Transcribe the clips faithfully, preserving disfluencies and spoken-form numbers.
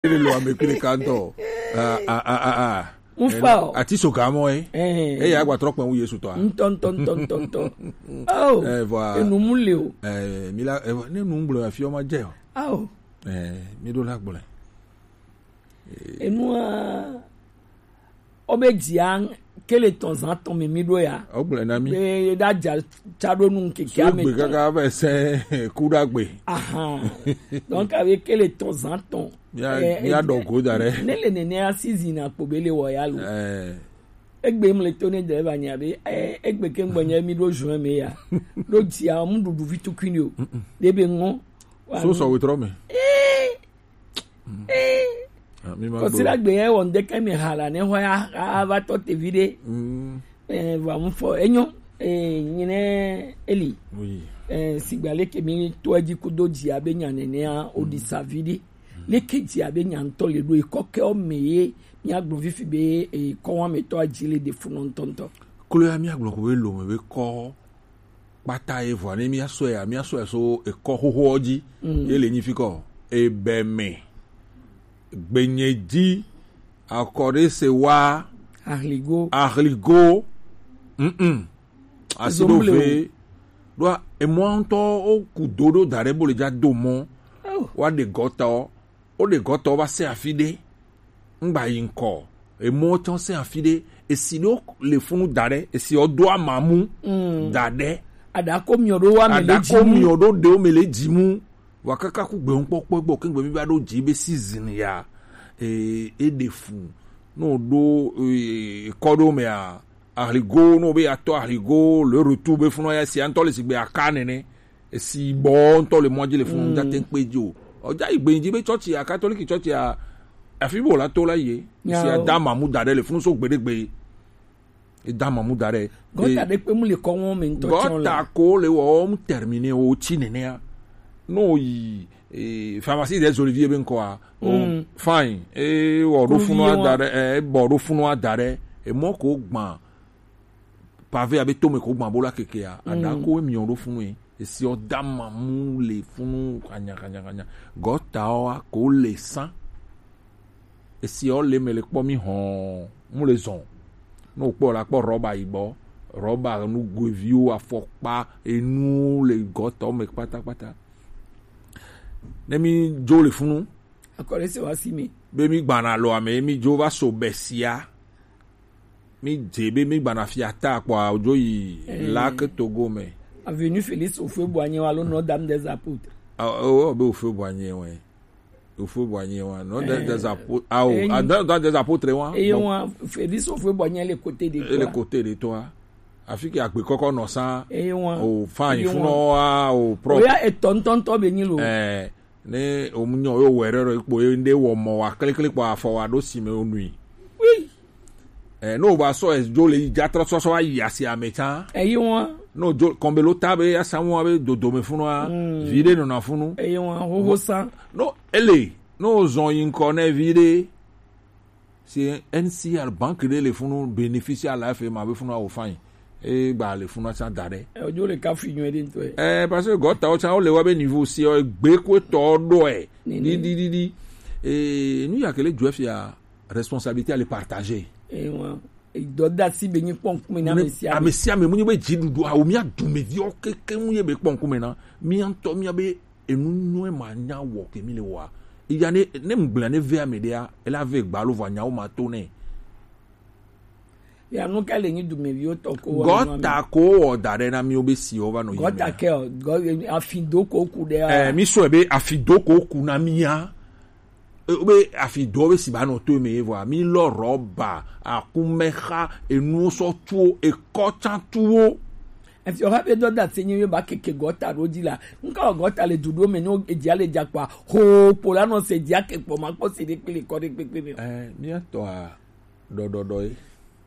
Ele lo ame kple kantɔ. Ah, ah, ah, ah, ah. Ŋfa o. Ati so gamɔ ye. Eh. Eya gba trɔ kpɛ wu Yesu tɔ a. Ŋtɔ, ŋtɔ, ŋtɔ, ŋtɔ, ŋtɔ. Oh. Eh, voilà. Enu mu le o. Eh, mi la, eh, ne nu gblɔ afi o ma dze o. Ah o. Eh, mi ɖo la gblɔ. Enua, o be dzia kele tɔn zan tɔn me mi ɖo ya. O gblɔ na mi. Be da dza tsa ɖo nu keke ame tɔn. Gbe kaka be se ku ɖa gbe. Ahan. Donc avec kele tɔn zan tɔn. Mía, eh, mía eh, ɖɔ go da ɖe. Ne le nene asi zina kpo be le wɔ ya lo. Eh. Egbe mle to ne de ba nya be, eh, egbe ke ŋgbɔ nya mi ɖo juin me ya. Ɖo dzia mu ɖuɖu vi tukui ni o. De be ŋɔ. So sɔ wetrɔ me. Eh. Eh. Ah, mi ma kɔsira gbe ye wɔ ŋdeke mi hala ne hɔ ya ava tɔ te vi ɖe. Mm. Eh, va mu fɔ enyo. Eh, nyine eli. Oui. Eh, sigba leke mi to edzi kudo dzi abe nya nenea o di sa vi ɖe. Leke dzi abe nya ŋtɔ le ɖo ekɔ ke o me ye mi agblɔ fifi be ekɔ wa me tɔ adzi le de fu nɔ ŋtɔŋtɔ. Klo ya mi agblɔ ko be lo me be kɔ kpata ye vɔa ne mía sɔe ya mía sɔe so ekɔ xoxoɔ dzi. Mm. Ye le nyi fi kɔ ebe me gbenye dzi akɔɖe se wa ahligo ahligo. Mm. Asi ɖo ve ɖoa emɔa ŋutɔ wo ku do ɖo da ɖe bo le dza do mɔ. Oh. Wa ɖe gɔtɔ wo ɖe gɔtɔ va se afi ɖe. Ŋgba yi ŋkɔ. Emɔ tsɔ se afi ɖe. Esi ɖo le funu da ɖe. Esi ɔdo amamu da ɖe. Aɖako miɔ ɖo wa me le dzi mu. Aɖako miɔ ɖo ɖewo me le dzi mu. Wa kaka ku gbe ŋkpɔkpɔ gbɔ kengbe mi va ɖo dzi be season ya. E, e ɖe fu. No ɖo, e, kɔ ɖo mea. Ahligo, no be atɔ ahligo, le retour be funu ya si antɔ le sigbe aka nene. Esi bɔ ŋutɔ le mɔ dzi le funu ŋdza te ŋkpe dzi o. Ɔdza yi gbe dzi be tsɔtsi a katoliki tsɔtsi a afi bo la to la ye. Esi ada mamu da ɖe le funu so gbe ɖe gbe. Eda mamu da ɖe. Gɔta ɖe kpe mu le kɔ wɔn me ŋutɔ tsɔ la. Gɔta ko le wɔ wɔm termine wo tsi nenea. No yi eh, pharmacie des oliviers be ŋkɔa. Oh, fine. Eh, wɔ ɖo funu ada ɖe. Eh, bɔ ɖo funu ada ɖe. Emɔ ko gbã. Pavé abe tome ko gbã bo la kekea. Aɖako emiɔ ɖo funu ye. Esi ɔ dama mu le funu kanya kanya kanya. Gɔtawo a ko le san. Esi ɔ le me le kpɔ mi hɔn mu le zɔn. Ne wokpɔ la kpɔ rɔba yibɔ, rɔba nugoeviwo, afɔkpa, enu le gɔtawo me kpatakpata. Ne mi dzo le funu. Akɔle se wa si mi. Be mi gbana lo ame mi dzo va so besia. Mi dze be mi gbana fia ta kpɔ adzo yi la ke togo me. Avenue Félix Houphouët-Boigny wa lo Notre-Dame des Apôtres. Ah, oh, be Houphouët-Boigny wa. Houphouët-Boigny wa. Notre-Dame des Apôtres. Ah, oh, ah, Notre-Dame des Apôtres wa. Et wa Félix Houphouët-Boigny le côté de toi. Le côté de toi. Afi ke agbe kɔkɔ nɔ sa. Et wa. Oh, fine. Funu wa, oh, propre. Oya etɔntɔntɔ be nyi lo. Eh. Ne omunyɔ yo wɛrɛ rɔ ikpo ye nde wɔ mɔ wa klikli kpɔ afɔ wa ɖo si me onui. Oui. Eh, no ba sɔ edzo le yi dza trɔ sɔsɔ wa yi asi ame tsa. Eyi wa. No dzo kɔnbelo ta be asamu wa be dodo me funu wa. Mm. Vi ɖe nɔna funu. Eyi wa hoho sa. No ele no zɔn yi ŋkɔ ne vi ɖe. Si N C R banque ɖe le funu bénéficier la F M A be funu awo fain. E gba le funu asa da ɖe. E ojo le ka fi nyuie ɖe ŋutɔ. Eh, parce que gɔtawo tsa wo le wa be niveau si o gbe ko tɔ ɖo e. Di di di di. Eh, nu ya kele jo fia responsabilité à le partager. Eh, wa. Dɔdasi be nyi kpɔn kume na ame sia ame. Ame sia ame mu nyi be dziɖuɖu awo mia dumeviwo keke mu ye be kpɔn kume na. Mia ŋutɔ mia be enu nyuie ma nya wɔ ke mi le wɔa. Iya ne ne ŋgblẽ ne ve ame ɖea, ele ave gba lo vɔ anyawo ma to nɛ. Ya nu ka le nyi dumeviwo tɔ ko wɔ. Gɔta ko wɔ da ɖe na mi wo be si wo va nɔ yi. Gɔta ke o, gɔ afi do ko ku ɖe. Eh, mi sɔ be afi do ko ku na mi ya. E, be afi do be si ba nɔ to me vɔ mi lɔ rɔba, akumexa, enu sɔ tuwo, ekɔ tsa tuwo. Efi ɔha be dɔ da se nyi ba keke gɔta ɖo dzi la. Nka wɔ gɔta le du ɖo me nyo edzia le dza kpa. Ho kpo la nɔ se dzia ke kpɔ ma kpɔ se ɖe kpele kɔ ɖe kpekpe me. Eh, mia tɔ a ɖɔɖɔɖɔ ye.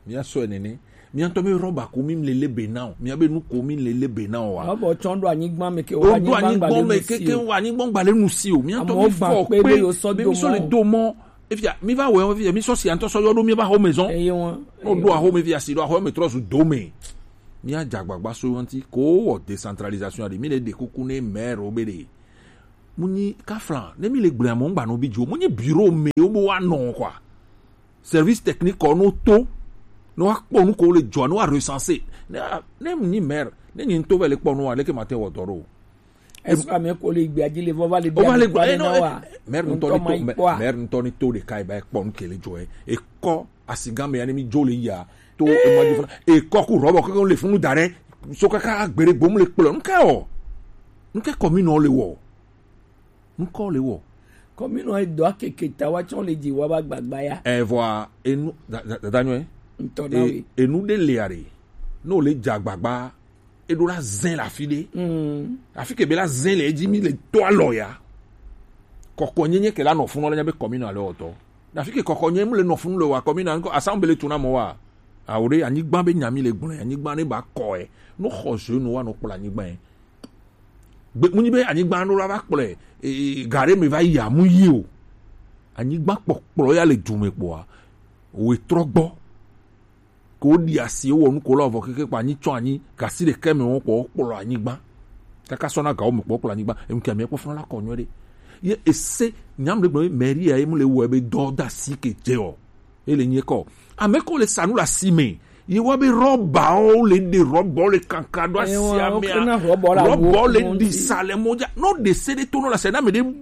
Mia sɔ nene. Mia tɔ mi rɔba ko mi le lebe na o. Mia be nu ko mi le lebe na o wa. Rɔba tsɔn ɖo anyigba me ke o. Ɖo anyigba me keke o anyigba gba le nu si o. Mia tɔ mi fɔ kpe be mi sɔ le do mɔ. Efia mi va wɛ efia mi sɔ si antɔ sɔ yɔ ɖo mi va xɔ me zɔn. Eye wọn. No ɖo axɔ me fia si ɖo axɔ me trɔ zu do me. Mia dza gbagba so yɔnti ko wɔ décentralisation aɖe mi le ɖe kuku ne maire wo be ɖe. Mu nyi kafla, ne mi le gblɔe mo ngba no bi jo. Mu nyi bureau me wo bo wa nɔ quoi. Service technique ko no to. No wa kpɔ nu ko le jo, no wa recenser. Ne ne mu nyi maire, ne nyi to ve le kpɔ no wa le ke mate wo dɔ ro. Est-ce que ame ko le gbe adile vo va le O va le gbe na wa. Maire ntɔ ni to, maire ntɔ ni to de kai ba kpɔ nu ke le jo e. E ko asigan me ya ne mi jo le ya. To e ma jo funa. E ko ku robo ko le funu dare. So kaka agbere gbom le kpɔ. Nke o. Nke commune le wo. Nukɔ le wɔ. Kɔmi nɔ edɔ akeke ta wa tsɔ le dzi wa ba gbagba ya. Evɔa enu dada nyɔɛ. Ntɔ na we. Enu de le are. N'o le dza gbagba. Eɖo la zɛn le afi ɖe. Afi ke be la zɛn le edzi mi le to alɔ ya. Kɔkɔ nyenye ke la nɔ funu le nya be kɔmi nɔ ale ɔtɔ. Afi ke kɔkɔ nye mu le nɔ funu le wa kɔmi na nkɔ asan be le tu na mɔ wa. Awo ɖe anyigba be nya mi le gblɔ anyigba ne ba kɔ ɛ. No xɔ zo no wa no kplɔ anyigba ɛ. Gbe munyi be anyigba no la va kplɔe, e, e, gare me va yi amu yi o. Anyigba kpɔkplɔ ya le du me kpɔa, we trɔ gbɔ. Ko ɖi asi wɔ nu ko la vɔ keke kpa anyi tsɔ anyi gasi ɖe ke me wɔn kpɔ kplɔ anyigba. Kaka sɔ na gawo me kpɔ kplɔ anyigba. Enu kia mi kpɔ funa la kɔ nyɔ ɖe. Ye ese nyam ɖe gblɔ be mairie ya ye mu le wɔ be dɔ da si ke dze o. Ele nye kɔ. Ame ko le sa nu le asi me. Ye wa be rɔbawo le ɖe rɔbawo le kankan ɖo asi ame a. Rɔbawo le ɖi sa le mɔ dza. No ɖe se ɖe to no le se na me ɖe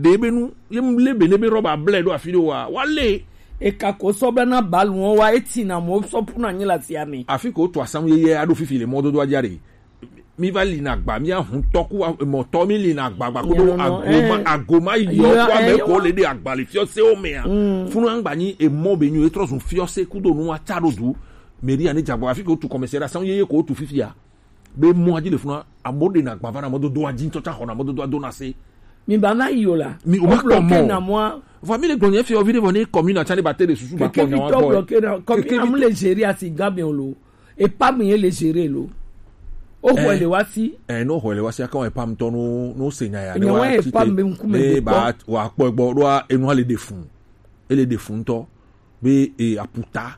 ɖe be nu. Ye mu le be ne be rɔba ble ɖo afi ɖe wa. Wa le. Eka ko sɔ be na balu wo wa eti na mo sɔ pu na nyi le asi ame. Afi ko to asam ye ye aɖo fifi le mɔdodo adza ɖe. Mi va li na agba, mi ahun tɔ ku mɔtɔ mi li na agba gba kudo agoma agoma yɔ ku ame ko le ɖe agba le fiɔ se o mea. Funu angba nyi emɔ be nyi etrɔ zun fiɔ se kudo nu wa tsa ɖo du. Meri ani dzagba afi ke wotu kɔmɛsɛ ɖe asan yeye ko wotu fifia. Be mɔ adzi le funu amo ɖe na agba va na mɔdodo adzi ŋtɔ tsa xɔ na mɔdodo ado na se. Mi ba na yi o la. Mi o ma kpɔ mɔ. Vɔ mi le gblɔ nye fiɔ vi ɖe vɔ ne kɔmi na tsa ne ba te ɖe susu ba kpɔ nya wa gbɔ. Kɔmi na mu le zeri asi gabe o lo. Epa mi ye le gérer lo. O xɔ le wa si. Eh, no xɔ le wa si aka wa epa mtɔ no no se nya ya ne wa ti te. Ne ba wa kpɔ gbɔ ɖo enu le de fun. Ele de fun tɔ be e aputa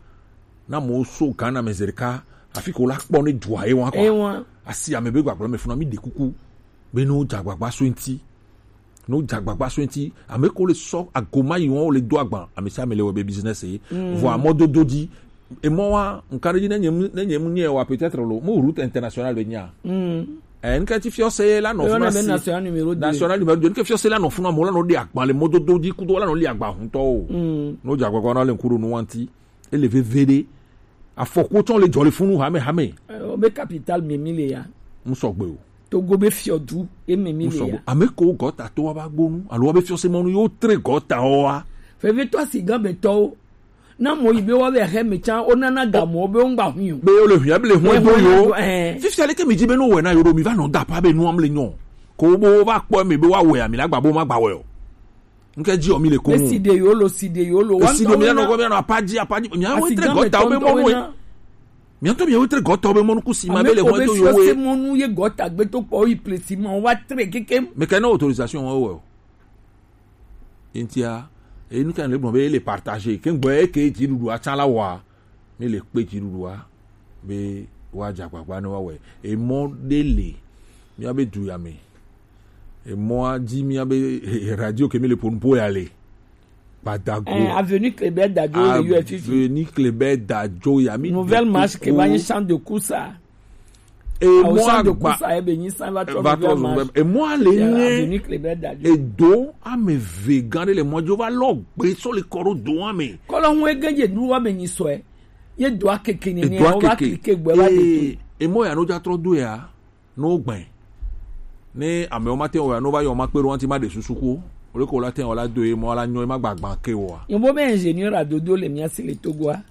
na mo so Ghana me zerika afi ko la kpɔ ne dua e wa kɔ. Asi ame be gbagblɔ me funa mi de kuku be no dza gbagba so nti. No dza gbagba so ŋti ame ko le sɔ agoma yi wɔn le do agba ame sia ame le wɔ be business ye vɔ amɔ dodo dzi emɔ wa nka ɖe dzi ne nye mu ne nye mu nye wa peut-être lo mu route internationale be nya eh nka ti fiɔ se la nɔ funa si national numéro deux national numéro deux nka fiɔ se la nɔ funa mo la nɔ de agba le mɔ dodo dzi kudo la nɔ li agba huntɔ o no dza gbagba na le nku ɖo nu wa ŋti ele veve ɖe afɔku tsɔ le dzɔ le funu hame hame o be capital mi mi le ya mu sɔgbe o Togo be fiɔdu eme mi le ya. Ame ko gɔta to wa ba gbonu alo wa be fiɔse mɔnu yo tre gɔta o wa. Fevitɔ si gan be tɔwo. Na mɔ yi be wa be ahe me tsan o nana ga mɔ be o ngba hu yo. Be o le hu ya be le hu do yo. Fifi ale ke mi ji be no wɛ na yo do mi va nɔ da pa be nu am le nyɔ. Ko bo va kpɔ me be wa wɛ ami la gba bo ma gba wɛ o. Nke dzi o mi le ko. Be si de yo lo si de yo lo. Si de mi na ko mi na apa dzi apa dzi mi a wo tre gɔta o be mɔnu e. Miato mi ewe tre gɔtɔ be mɔnu kusi ma be le hɔn to yo we. Mɔnu ye gɔta gbe to kpɔ yi plesi ma wa tre keke. Mais quelle autorisation wa wa. Intia e nu kan le bon be le partager. Ke ngbo e ke dzi dudu a tsala wa. Mi le pe dzi dudu a be wa dza gbagba ne wa we. E mɔ de le. Mi a be du ya me. Emɔa dzi mía be radio ke mi le ƒo nu ƒo ya le. Badago. Eh, avenue Kléber Dadio le U F I. Avenue Kléber Dadio ya mi. Nouvelle marche ke va nyi champ de course a. Emɔa gba. Emɔa le nye edo ame ve gã ɖe le mɔ dzi wova lɔ gbe sɔ le kɔ ɖo doa me. Kɔlɔ ŋu ege dze nu wa me nyi sɔe. Ye doa keke ni ne wa keke gbe wa de. Emɔ ya no dza trɔ do ya. No gbɛ ne amewo ma te wɔa no va yɔ ma kpe ɖo ŋuti ma ɖe susu ko o le ko la te wɔ la do ye mɔ la nyɔ ye ma gbagbã ke wɔa. Yɔnbɔ be ingénieur adodo le mía si le Togoa.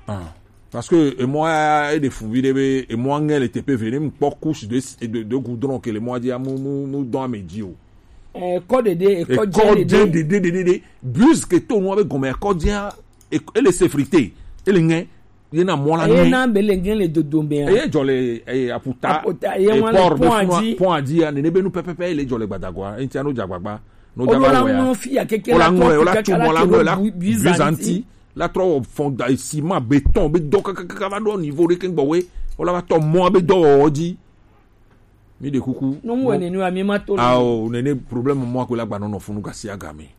Ah, parce que emɔ ya e ɖe fun vi ɖe be emɔ ŋɛ le teƒe ve ne mu kpɔ couche de de de goudron ke le mɔ dzi amu mu mu dɔn ame dzi o. Ekɔ ɖeɖe ekɔ dze ɖeɖe ɖeɖe ɖeɖe bus ke to nua be gɔme ekɔ dzia ele sécurité ele ŋɛ. Ye na mɔ la eye nye. Na be le nye le dodo me a. Eye dzɔ le eye aputa. Aputa, eye eye ŋua le port be pont funu a dzi. Pont a dzi ya nene be nu pɛpɛpɛ ye le dzɔ le gbadagoa enti ano dza gbagba. No dza ba wɔ ya. Ŋlɔ fi ya keke la ŋlɔ la tu mɔ la ŋlɔ la bizanti la trɔ wɔ fɔnda ciment béton be dɔ kakaka va ɖo niveau ɖe ke gbɔ we. Wola va tɔ mɔ be dɔwɔwɔ dzi. Mi ɖe kuku. No mu wɛ nene wa mi ma to le. Ao, nene problème mɔ akwe la gba nɔ nɔ funu gasi agame.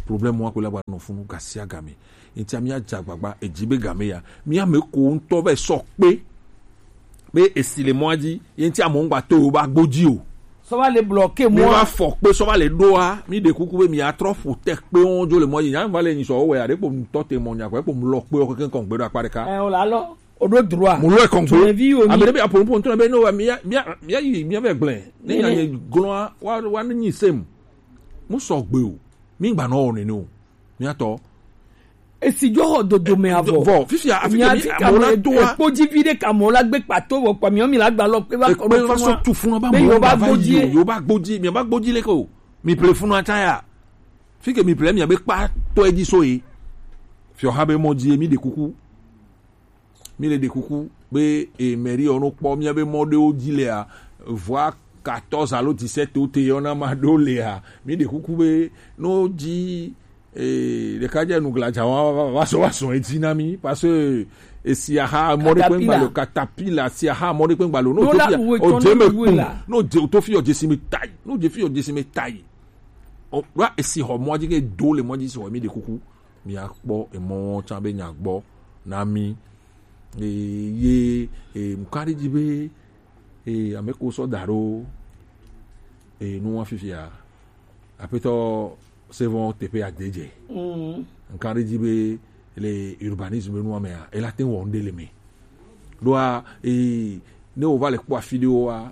Problème mɔ akwe la gba nɔ funu gasi agame. Ntia mi adza gbagba edzi be game ya. Mi ame ko ŋutɔ vɛ sɔ kpe. Be esi le mɔa dzi, ye ŋuti amewo ŋgba to yewo ba gbo dzi o. Sɔ va le bloquer mɔa. Mi va fɔ kpe sɔ va le ɖoa, mi ɖe kuku be mi atrɔ ƒo te kpe wo dzo le mɔa dzi. Nya va le nyi sɔ wo wɛ aɖe kpo ŋutɔ te mɔ nya kɔ, ekpo mu lɔ kpe wo keke ŋkɔ ŋgbe ɖo akpa ɖeka. Ɛ, o la lɔ. O ɖo droit. Mu lɔ ekɔ ŋgbe. Tsonevi wo mi. Ame ɖe be apo ŋpo ŋutɔ be no mi ya mi ya mi ya yi mi ya vɛ gblẽ. Ne nya nye glɔa wa wa ne nyi sem. Mu sɔ gbe o. Mi gba nɔ wɔ nene o. Miatɔ. Esi dzo xɔ dodo me avɔ. Vɔ, fifia, afi ke mi amewo la doa. Ekpo dzi vi ɖe ka amewo la gbe kpato vɔ kpa miɔ mi la gba lɔ kpe va kɔ ɖo funu. Ekpe va sɔ tu funu ba be amewo yewo va gbodzi yi o, yewo va gbodzi, mi va gbodzi le ko. Mi ple funu ata ya. Fi ke mi ple mi abe kpa tɔ edzi so ye. Fiɔ ha be mɔ dzi ye mi ɖe kuku. Mi le ɖe kuku be e mairie ɔ no kpɔ mi abe mɔ ɖewo dzi lea. Voire quatorze alo dix-sept wo te yɔna ma ɖo lea. Mi ɖe kuku be no dzi Ee, ɖeka dze nu gladza wa va va sɔ wa sɔ edzi na mi parce que esi aha mɔ ɖe kpe ŋgba lo katapila si aha mɔ ɖe kpe ŋgba lo no to fi o dze me kpun no dze to fi o dze si me tai no dze fi o dze si me tai o wa esi xɔ mɔ dzi ke do le mɔ dzi si xɔ mi ɖe kuku mi akpɔ emɔ tsa be nya gbɔ na mi ee ye ee nkan ɖe dzi be ee ame ko sɔ da ɖo ee nu wa fifia Aƒetɔ Sevon teƒe adedze. Mm. Nka ɖe dzi be le urbanisme nua mea, ela te wɔ ŋɖe le me. Ɖoa, ee, ne wova le kpɔ afi ɖewoa,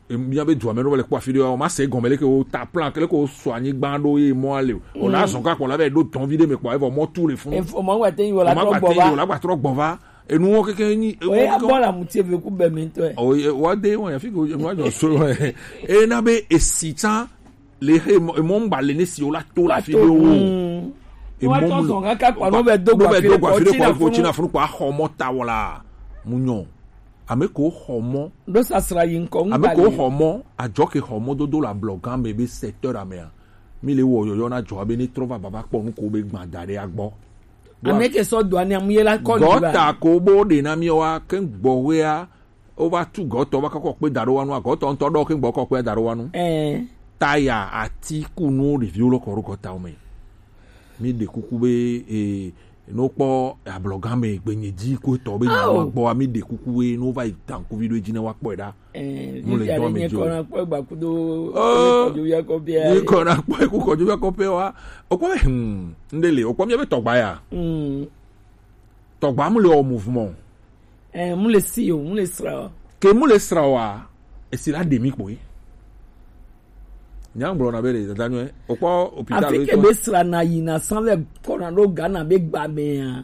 mía be dua me ne wova le kpɔ afi ɖewoa, woma se gɔme leke wo ta plan, leke wo sɔ anyigba ɖo ye mɔa le o. Wona zɔn ka kpɔ la be ɖo tɔn vi ɖe me kpɔ, evɔ mɔ tu le funu. Efo mɔ gba te yi wala trɔ gbɔ va. Wala gba trɔ gbɔ va. Enuwo keke nyi. Oye abɔ la muti eve ku bɛ mi tɔ. Oye wa de wa ya fi ko enu wa jɔ so. E na be esi tsa le he emɔ ŋgba le ne si o la to la fi de o. Emɔ mu sɔn kaka kpa no bɛ do gba fi de kɔ ti na funu kpa xɔ mɔ ta wala. Mu nyɔ. Ame ko xɔ mɔ. Do sasra yi ŋkɔ ŋgba le. Ame ko xɔ mɔ adzɔ ke xɔ mɔ dodo la blɔ gan me be secteur amea. Mi le wɔ yɔyɔ na dzɔ be ne trɔ va baba kpɔ nu ko be gbã da ɖe agbɔ. Ame ke sɔ do ani amu ye la kɔ ni ba. Gɔta ko bo ɖe na mi wa ke gbɔwea o va tu gɔtɔ va kɔkɔ kpe da ɖo wa nu gɔtɔ ŋutɔ ɖɔ ke gbɔ kɔ kpe da ɖo wa nu. Ɛɛ. Taya ati ku nu ɖeviwo lɔ kɔ ɖo gɔtawo me. Mi ɖe kuku be ee no kpɔ ablɔgã me gbenye dzi ko etɔ be nya wa gbɔ wa mi ɖe kuku be no va yi tankuvi ɖo edzi ne wa kpɔe ɖa. Eh, mu le dɔn me dzo. Kɔna kpɔ gba kudo. Oh, kɔdzo ya kɔ pia. Ni kɔna kpɔ ku kɔdzo ya kɔ pia wa. Okpɔ hmm, ndele, okpɔ mi be tɔgba ya. Hmm. Tɔgba mu le o mouvement. Eh, mu le si o, mu le sra o. Ke mu le sra wa, esi la demi kpɔ. Nya gblɔ na be le dada nyuɛ. Okpɔ hôpital. Afi ke be sra na yi na san le kɔna do Ghana be gba me ya.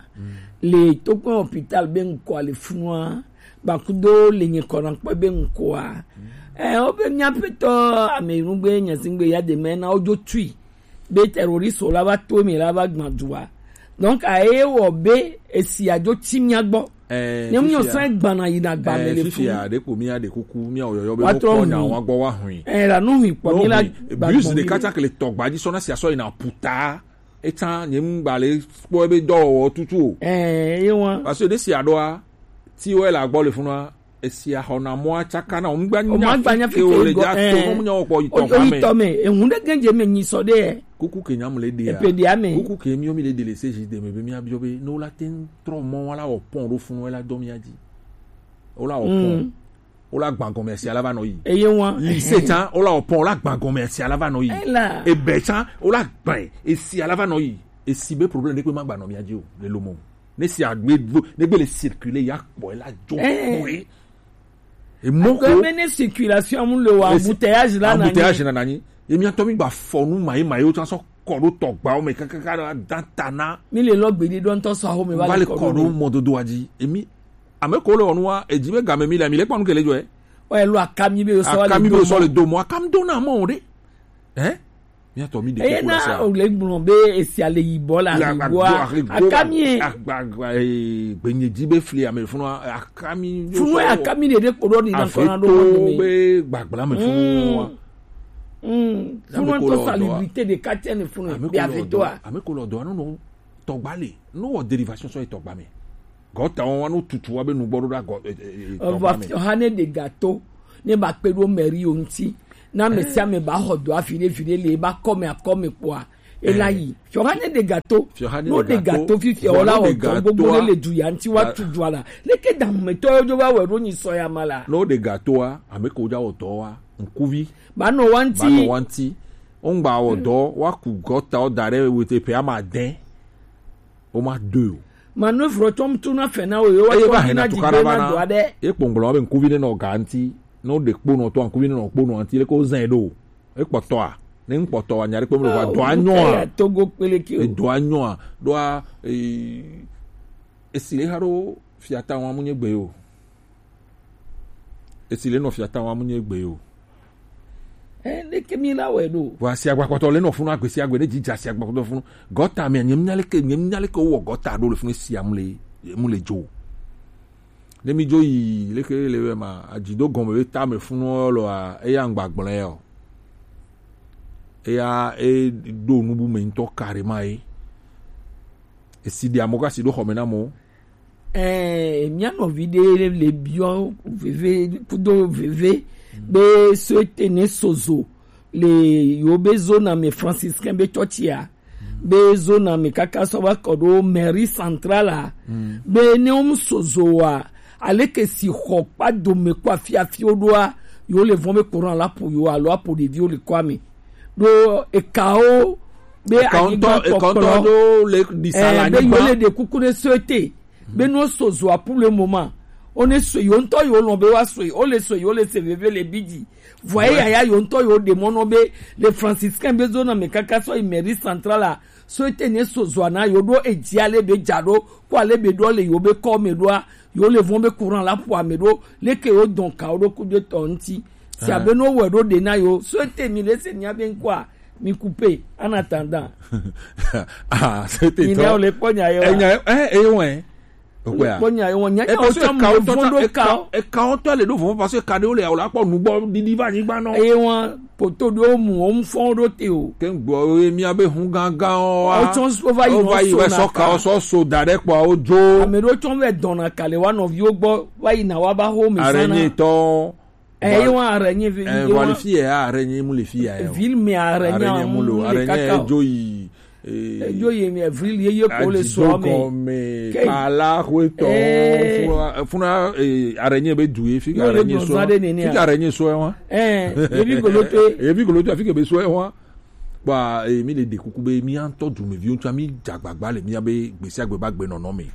Le to kpɔ hôpital be ŋkɔ le funua. Gbakudo le nye kɔna kpɔ be ŋkɔa. Eh, o be mia petɔ ame nugbe nyazingbe ya de me na o jo tui. Be terroriste la va to me la va gbadua. Donc a e wo be esi a jo ti mia gbɔ. Eh, ne mu yo san gbana yi na gba me le funu. Fifia de ko mi a de kuku mi a oyoyo be mo ko na wa gbɔ wa hui. Eh, la nu hui kpɔ mi la gba bus de kata ke le tɔgba di sɔna si asɔ yi na puta. Etan nye mu gba le kpɔ be dɔwɔwɔ tutu o. Eh, ye wa. Parce que de si adoa ti wo la gbɔ le funua. Esi axɔna mɔa tsaka na wo ŋgba nya fi ke wo le dza to no nya wo kpɔ yitɔ xa me. Yitɔ me, ehun ɖe gɛnje me nyi sɔ ɖe. Kuku ke nyam le ɖea. Epe ɖea me. Kuku ke mi mi le ɖe le se zi de me be mi abiɔ be no la te trɔ mɔ wala wɔ pɔn ɖo funu wala dɔ mi adzi. Wala wɔ pɔn. Wala gbã gɔme esi ala va nɔ yi. Eye wa. Lycée tsan wala wɔ pɔn wala gbã gɔme esi ala va nɔ yi. Ela. Ebe tsan wala gbã esi ala va nɔ yi. Esi be problème ɖe kpe ma gba nɔ mi adzi o le lomo. Ne si agbe do ne gbe le circuler ya kpɔ la jo kpɔe. Emɔ ko me ne circulation mu le wa embouteillage la na embouteillage na nanyi. Emi atɔ mi gba fɔ nu mayi mayi o tsan sɔ kɔ do tɔgba o me kakaka da ta na. Mi le lɔ gbe di dɔ ntɔ sɔ aho me va le kɔ do mɔdodo adzi. Emi ame ko le wɔnu wa edzi be game mi le mi le kpɔnu ke le jɔ ɛ. O elo akami be o sɔ le do mɔ akami do na mɔ o de. Hein? Miatɔ mi ɖe eye na o le gblɔ be esia le yibɔ la yibɔa akami ye. Gbenye dzi be fli ame funu akami. Funu akami ɖe ɖe kpo ɖo ni na kɔna ɖo mo be gbagbla me funu wa. Funu to salubrité de quartier ne funu bi ave to a. Ame ko lɔ dɔ anu no tɔgba le no wɔ dérivation sɔ ye tɔgba me. Gɔta wɔn wa no tutu wa be nugbɔ ɖo ɖa gɔ tɔgba me. Ɔvɔ fi ɔha ne de gato. Ne ba kpe ɖo mɛri yo ŋuti. Na ame sia ame ba xɔ dɔ afi ɖe vi ɖe le ba kɔme akɔme kpɔa. Ela yi. Fiɔha ne ɖe gato. Fiɔha ne No ɖe ɖe gato. Gato fifia Vɔ wala no ɖe wɔ dɔ gbogbo gato ne a- le du ya ŋuti wa Ga- tu du ala. Leke dahumetɔ yo jo va wɛ ɖo nyi sɔ ya ma la. No ɖe gatoa, ame ko ja wɔ dɔ wa, ŋkuvi. Ba nɔ wa Ba nɔ ŋuti. Wa ŋuti. Ŋgba wɔ dɔ, wa ku gɔta o da ɖe wete pe ama dɛ. O ma do o. Manœuvre tɔm tu na fɛ na o yo wa Eye tɔ va bi hena na tu dzi kara do va na na. do aɖe. Ye kpɔngbɔlɔ be ŋkuvi ne nɔ ga ŋuti. No ɖe kponɔ tɔ ŋkuvi ne nɔ kponɔ ŋuti le ko zɛn ɖo. Ekpɔtɔa, ne ŋkpɔtɔa, nya ɖe kpɔm le va Ah, dɔa o nyɔa. Kaya Togo kpeleke o. Edɔa nyɔa, ɖoa, e, esi le xa ɖo fiata wa mu nye gbe o. Esi le nɔ fiata wa mu nye gbe o. Eh, ne ke mi la wɛ ɖo. Vɔ asi agba kpɔtɔ le nɔ funu agbe si agbe, ne dzidza asi agba kpɔtɔ funu. Gɔta me, nye nya leke, nye nya leke wowɔ gɔta ɖo le funu esi amu le, mu le dzo. Ne mi dzo yi leke le wɛ ma, adzido gɔme be tame funu lɔa, eya ŋgba gblẽ o. Eya e ɖo nubu me ŋutɔ carrément ye. Esi ɖe amewo kasi ɖo xɔme na amewo. Eh, mía nɔvi ɖe le biɔ veve kudo veve be so ete ne sozo le yo be zona me franciscain be tsɔtsia be zona me kaka sɔ va kɔ ɖo mairie centrale a be ne wo mu sozo wa aleke si xɔ kpa dome kɔ afi afi wo ɖoa yo le vɔn be courant la po yo alo apo ɖeviwo le kɔa me ɖo ekawo be Eka ŋutɔ, anyigba eka ŋutɔ kpɔkplɔ ɖo le ɖisa le eh, be yo anyigba. Le ɖe kuku ɖe so ete be no so zoa pour le moment o ne so yo ŋutɔ yo lɔn be wa so o le so yo le se veve le bidzi vɔ ye yaya yo ŋutɔ yo ɖe mɔ nɔ be le franciscain be zona me kaka sɔ yi mairie centrale a so ete ne so zoa na yo ɖo edzi ale be dza ɖo ko ale be ɖo le yo be kɔ me ɖoa yo le vɔn be courant la ƒo ame ɖo leke yo dɔn ka wo ɖo ku ɖe tɔ ŋuti si abe no wɔ ɖo ɖe na yo so ete mi le se nya be ŋkɔa mi couper en attendant. Ah, c'était mi ne top. Wo le kpɔ nya ye wa Enya eh eh ouais. Okwe a. Kpɔ nya ye wa nya E nya o parce que tsa ka mo o tɔ fɔn tsa ɖo e ka ka o. E ka o tɔ le ɖo vɔn parce que ka ɖe wo le awo la kpɔ nugbɔ didi va nyigba nɔ. Eye wa poto ɖo mu o mu fɔn ɖo te o. Ke n gbɔ ye mi abe hun gangan o wa. O tsɔn so va yi O va yi nɔ so wɛ na sɔ ka ka. O sɔ so da ɖe kpɔ o jo. Ame ɖo tsɔn vɛ dɔn na ka le wa nɔviwo gbɔ va yi na wa ba ho mi sana. Araignée tɔ. Eye wa araignée vi Eh, ye wa. Vɔ le fi ya araignée mu le fi ya ye o. Ville me araignée Araignée mu mu lo le araignée kaka o. Edzo yi. Eh, Edzo yi me ville ye ye ko le so me. Gɔme Ke- pala ko tɔ Eh. Funa funa eh, araignée be du ye fi Yo le araignée so. Donza de nene Fi a. Araignée so wa. Eh, ye bi golo to. Ye bi golo to fi ke be so wa. Ba eh, mi le de kuku be mi antɔ du me vi o tsa mi jagbagba le mi abe gbesi agbe ba gbe nɔnɔ me.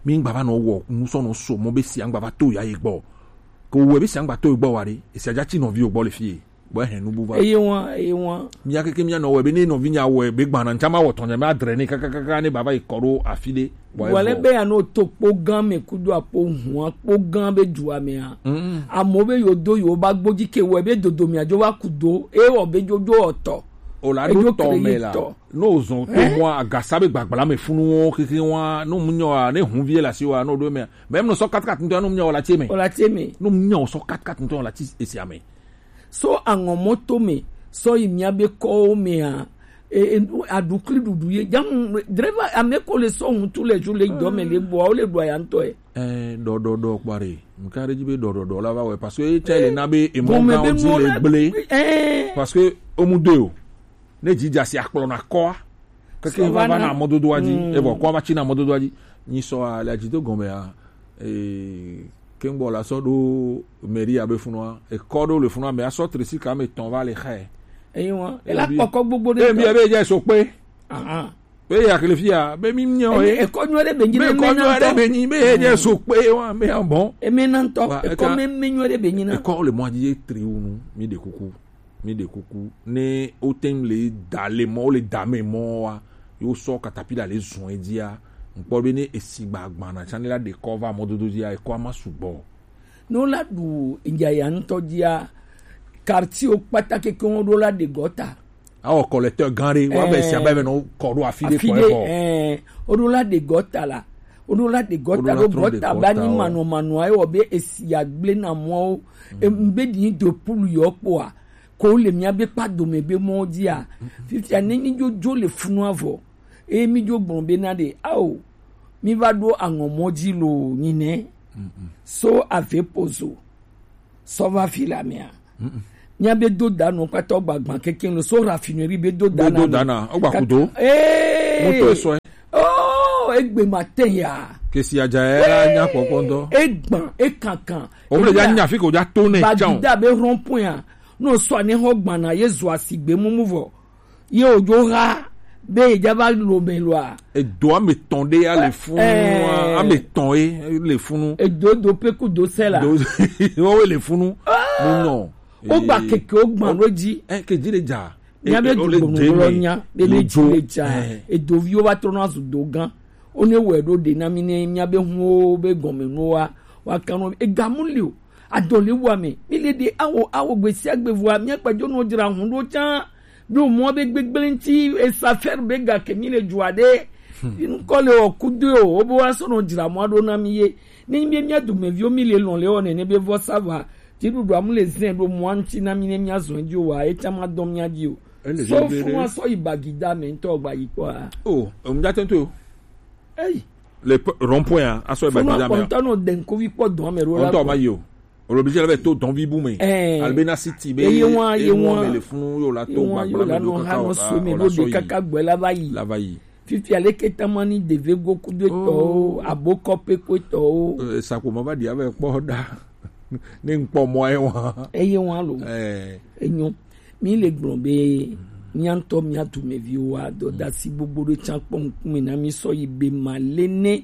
Mi ngba va nɔ wɔ musɔ nɔ so mo be si angba va to ya ye gbɔ. Ko wɔ be si angba to ye gbɔ wa ɖe, esi adza tsi nɔvi wo gbɔ le fie, bɔ ehe nubu va. Eye wa, eye wa. Mía keke mía nɔ wɔ be ne nɔvi nya wɔ be gbana ntsa ma wɔ tɔnya ma dre ne kakakaka ne baba yi kɔ ɖo afi ɖe. Bɔ Wale evɔ. Be ya no to kpo gan me kudo akpo hua kpo gan be dua me a. Mm. Amo be yo do yo ba gbodzi ke wɔ be dodo mia dzo va ku do, e wɔ be dzo dzo ɔtɔ. O la Edzo ɖo tɔ me kele la. Tɔ. No zɔn to mɔ agasa be gbagbla me funu wo keke wa no mu nyɔ ne hunvie la si wa no do me. Même no sɔ kat kat ntɔ no mu nyɔ la tie me. O la tie me. No mu nyɔ sɔ kat kat ntɔ la ti esia me. So aŋɔ mɔto me sɔ yi mia be kɔwo me a e, e, aɖukli ɖuɖu ye jamu dreva ame ko le sɔ ŋutu le ju le dɔ me le bɔ o le ɖu aya ŋutɔ ye. Eh, dɔ dɔ dɔ kpare. Nka ɖe dzi be dɔ dɔ dɔ la va wɛ parce que etsɛ le na be emɔ Gɔme gã be wo dzi nuwo le la gble. Eh. Parce que omu do o. Ne dzi dza si akplɔ na kɔa. Keke Sɔ va va va na na. Mɔdodoa dzi. Mm. Evɔ kɔa va tsi na mɔdodoa dzi. Nyi sɔ a le adzido gɔme a. Eh, kengbo la sɔ ɖo mairie abe funua. Ekɔ ɖo le funua me asɔ tresi ka me tɔn va le xɛ. Eyi wa. Ela Ebi- kpɔkɔ gbogbo ɖe Ebi tɔ. Ebe dze so kpe. Ahan. Be ya kele fia be mi nyɔ Eye ye. Ekɔ nyuie ɖe be nyi Be ne kɔ mi nyuie na ɖe tɔ. Be nyi be ye nye so kpe wa me ya bɔn. Eme na ŋutɔ, Wa, ekɔ eka- me, me nyuie ɖe be nyi na. Ekɔ le mɔ dzi ye tri wu nu, mi ɖe kuku, mi ɖe kuku. Ne o te ŋu le da le mɔ, o le da me mɔ wa, yo sɔ katapila le zɔn edzia. Ŋkpɔ be ne esi gba gbana tsa ne la ɖe kɔ va mɔdodo dzia, ekɔ ama sugbɔ. Ne wola ɖu yaya ŋutɔ dzia, quartier wo kpata keke wo ɖo la ɖe gɔta. Awɔ collecteur gã ɖe, wa be sia be nɔ kɔ ɖo afi ɖe kɔ ɖe evɔ. Ɛɛ, woɖo la ɖe gɔta la. Woɖo la ɖe gɔta Woɖo la ɖo trɔ ɖe gɔta be anyi gɔta o. Manɔ manɔ ayi wɔ be esi agble na mɔwo. Em, be ɖi do pulu yɔ kpoa. Ko le mia be kpa dome be mɔ dzia. Fifia ne mi dzo dzo le funu avɔ. Eye mi dzo gblɔ be na ɖe, ao, mi va ɖo aŋɔmɔ dzi lo nyinɛ. So ave pozo. Sɔva fi la mea. Mía be do da nɔ kpata gba gba keke lo so raffinerie be do da na. Be do da na, o gba kudo. Ee. Moto eso. Oh, egbe ma te ya. Kesi aja ya nya kɔkɔ ŋdɔ. Egba, ekankan. O mle ya nya fi ko ja to ne. Bagida be rond-point ya. No so ane ho gba na ye zo asigbe mumu vɔ. Ye ojo ha be ye ja va lo me lo a. Edo ame tɔn ɖe ya le funu. Ame tɔn ye le funu. Edo do pe ku do sɛ la. Do wo le funu. Mu nɔ. O gba keke o gba lo ji. Eh, ke ji le ja. Nya be du gbonu lo nya be le ji le ja. Edo vi o va trɔ na zu do gan. O ne wɛ ɖo ɖe na mi ne mía be hun o be gɔme nu wa wa kan nɔ ega mu li o. Adɔle wa me mi le ɖe awo awo gbesi agbe vua mía kpadzo nɔ dzra hun ɖo tsã. Ɖo mɔ be gbegble ŋuti esa fɛr be ga ke mi le dzua ɖe. Ŋkɔ le wɔ kudo o wo be wa sɔ nɔ dzra mɔ ɖo na mi ye. Ne mi mía dumeviwo mi le lɔn le wɔ nene be vɔ sava. Dziɖuɖua mu le zɛ ɖo mɔ ŋuti na mi ne mía zɔn dzi o wa etsã ma dɔn mía dzi o. Sɔ fún wa sɔ yi bagida me ŋutɔ gba yi kpɔ a. O ŋdza tento. Eyi. Le rond-point a asɔ yi bagida me. Fún wa kpɔntɔ nɔ dɛnkovi kpɔ dɔn me ro la. Ŋutɔ ma yi o. Olobi jɛ la bɛ to dɔn vi bu me. Ɛɛ. Albe na siti be. Eye wa ye wa me le funu yo la to gbagba me do kaka o la so me do de kaka gbɛ la va yi. La va yi. Fifi ale ke tamani deve go kudo etɔ o abokɔ pe ko etɔ o. Sakoma va di avɛ kpɔ da. Ne ŋkpɔ mɔ ye wa. Eye wa lo. Ɛɛ. Enyo. Mi le gblɔ be mía ŋutɔ mía dumeviwo wa dɔdasi gbogbo ɖe tsã kpɔ ŋkume na mi sɔ yi be ma le ne.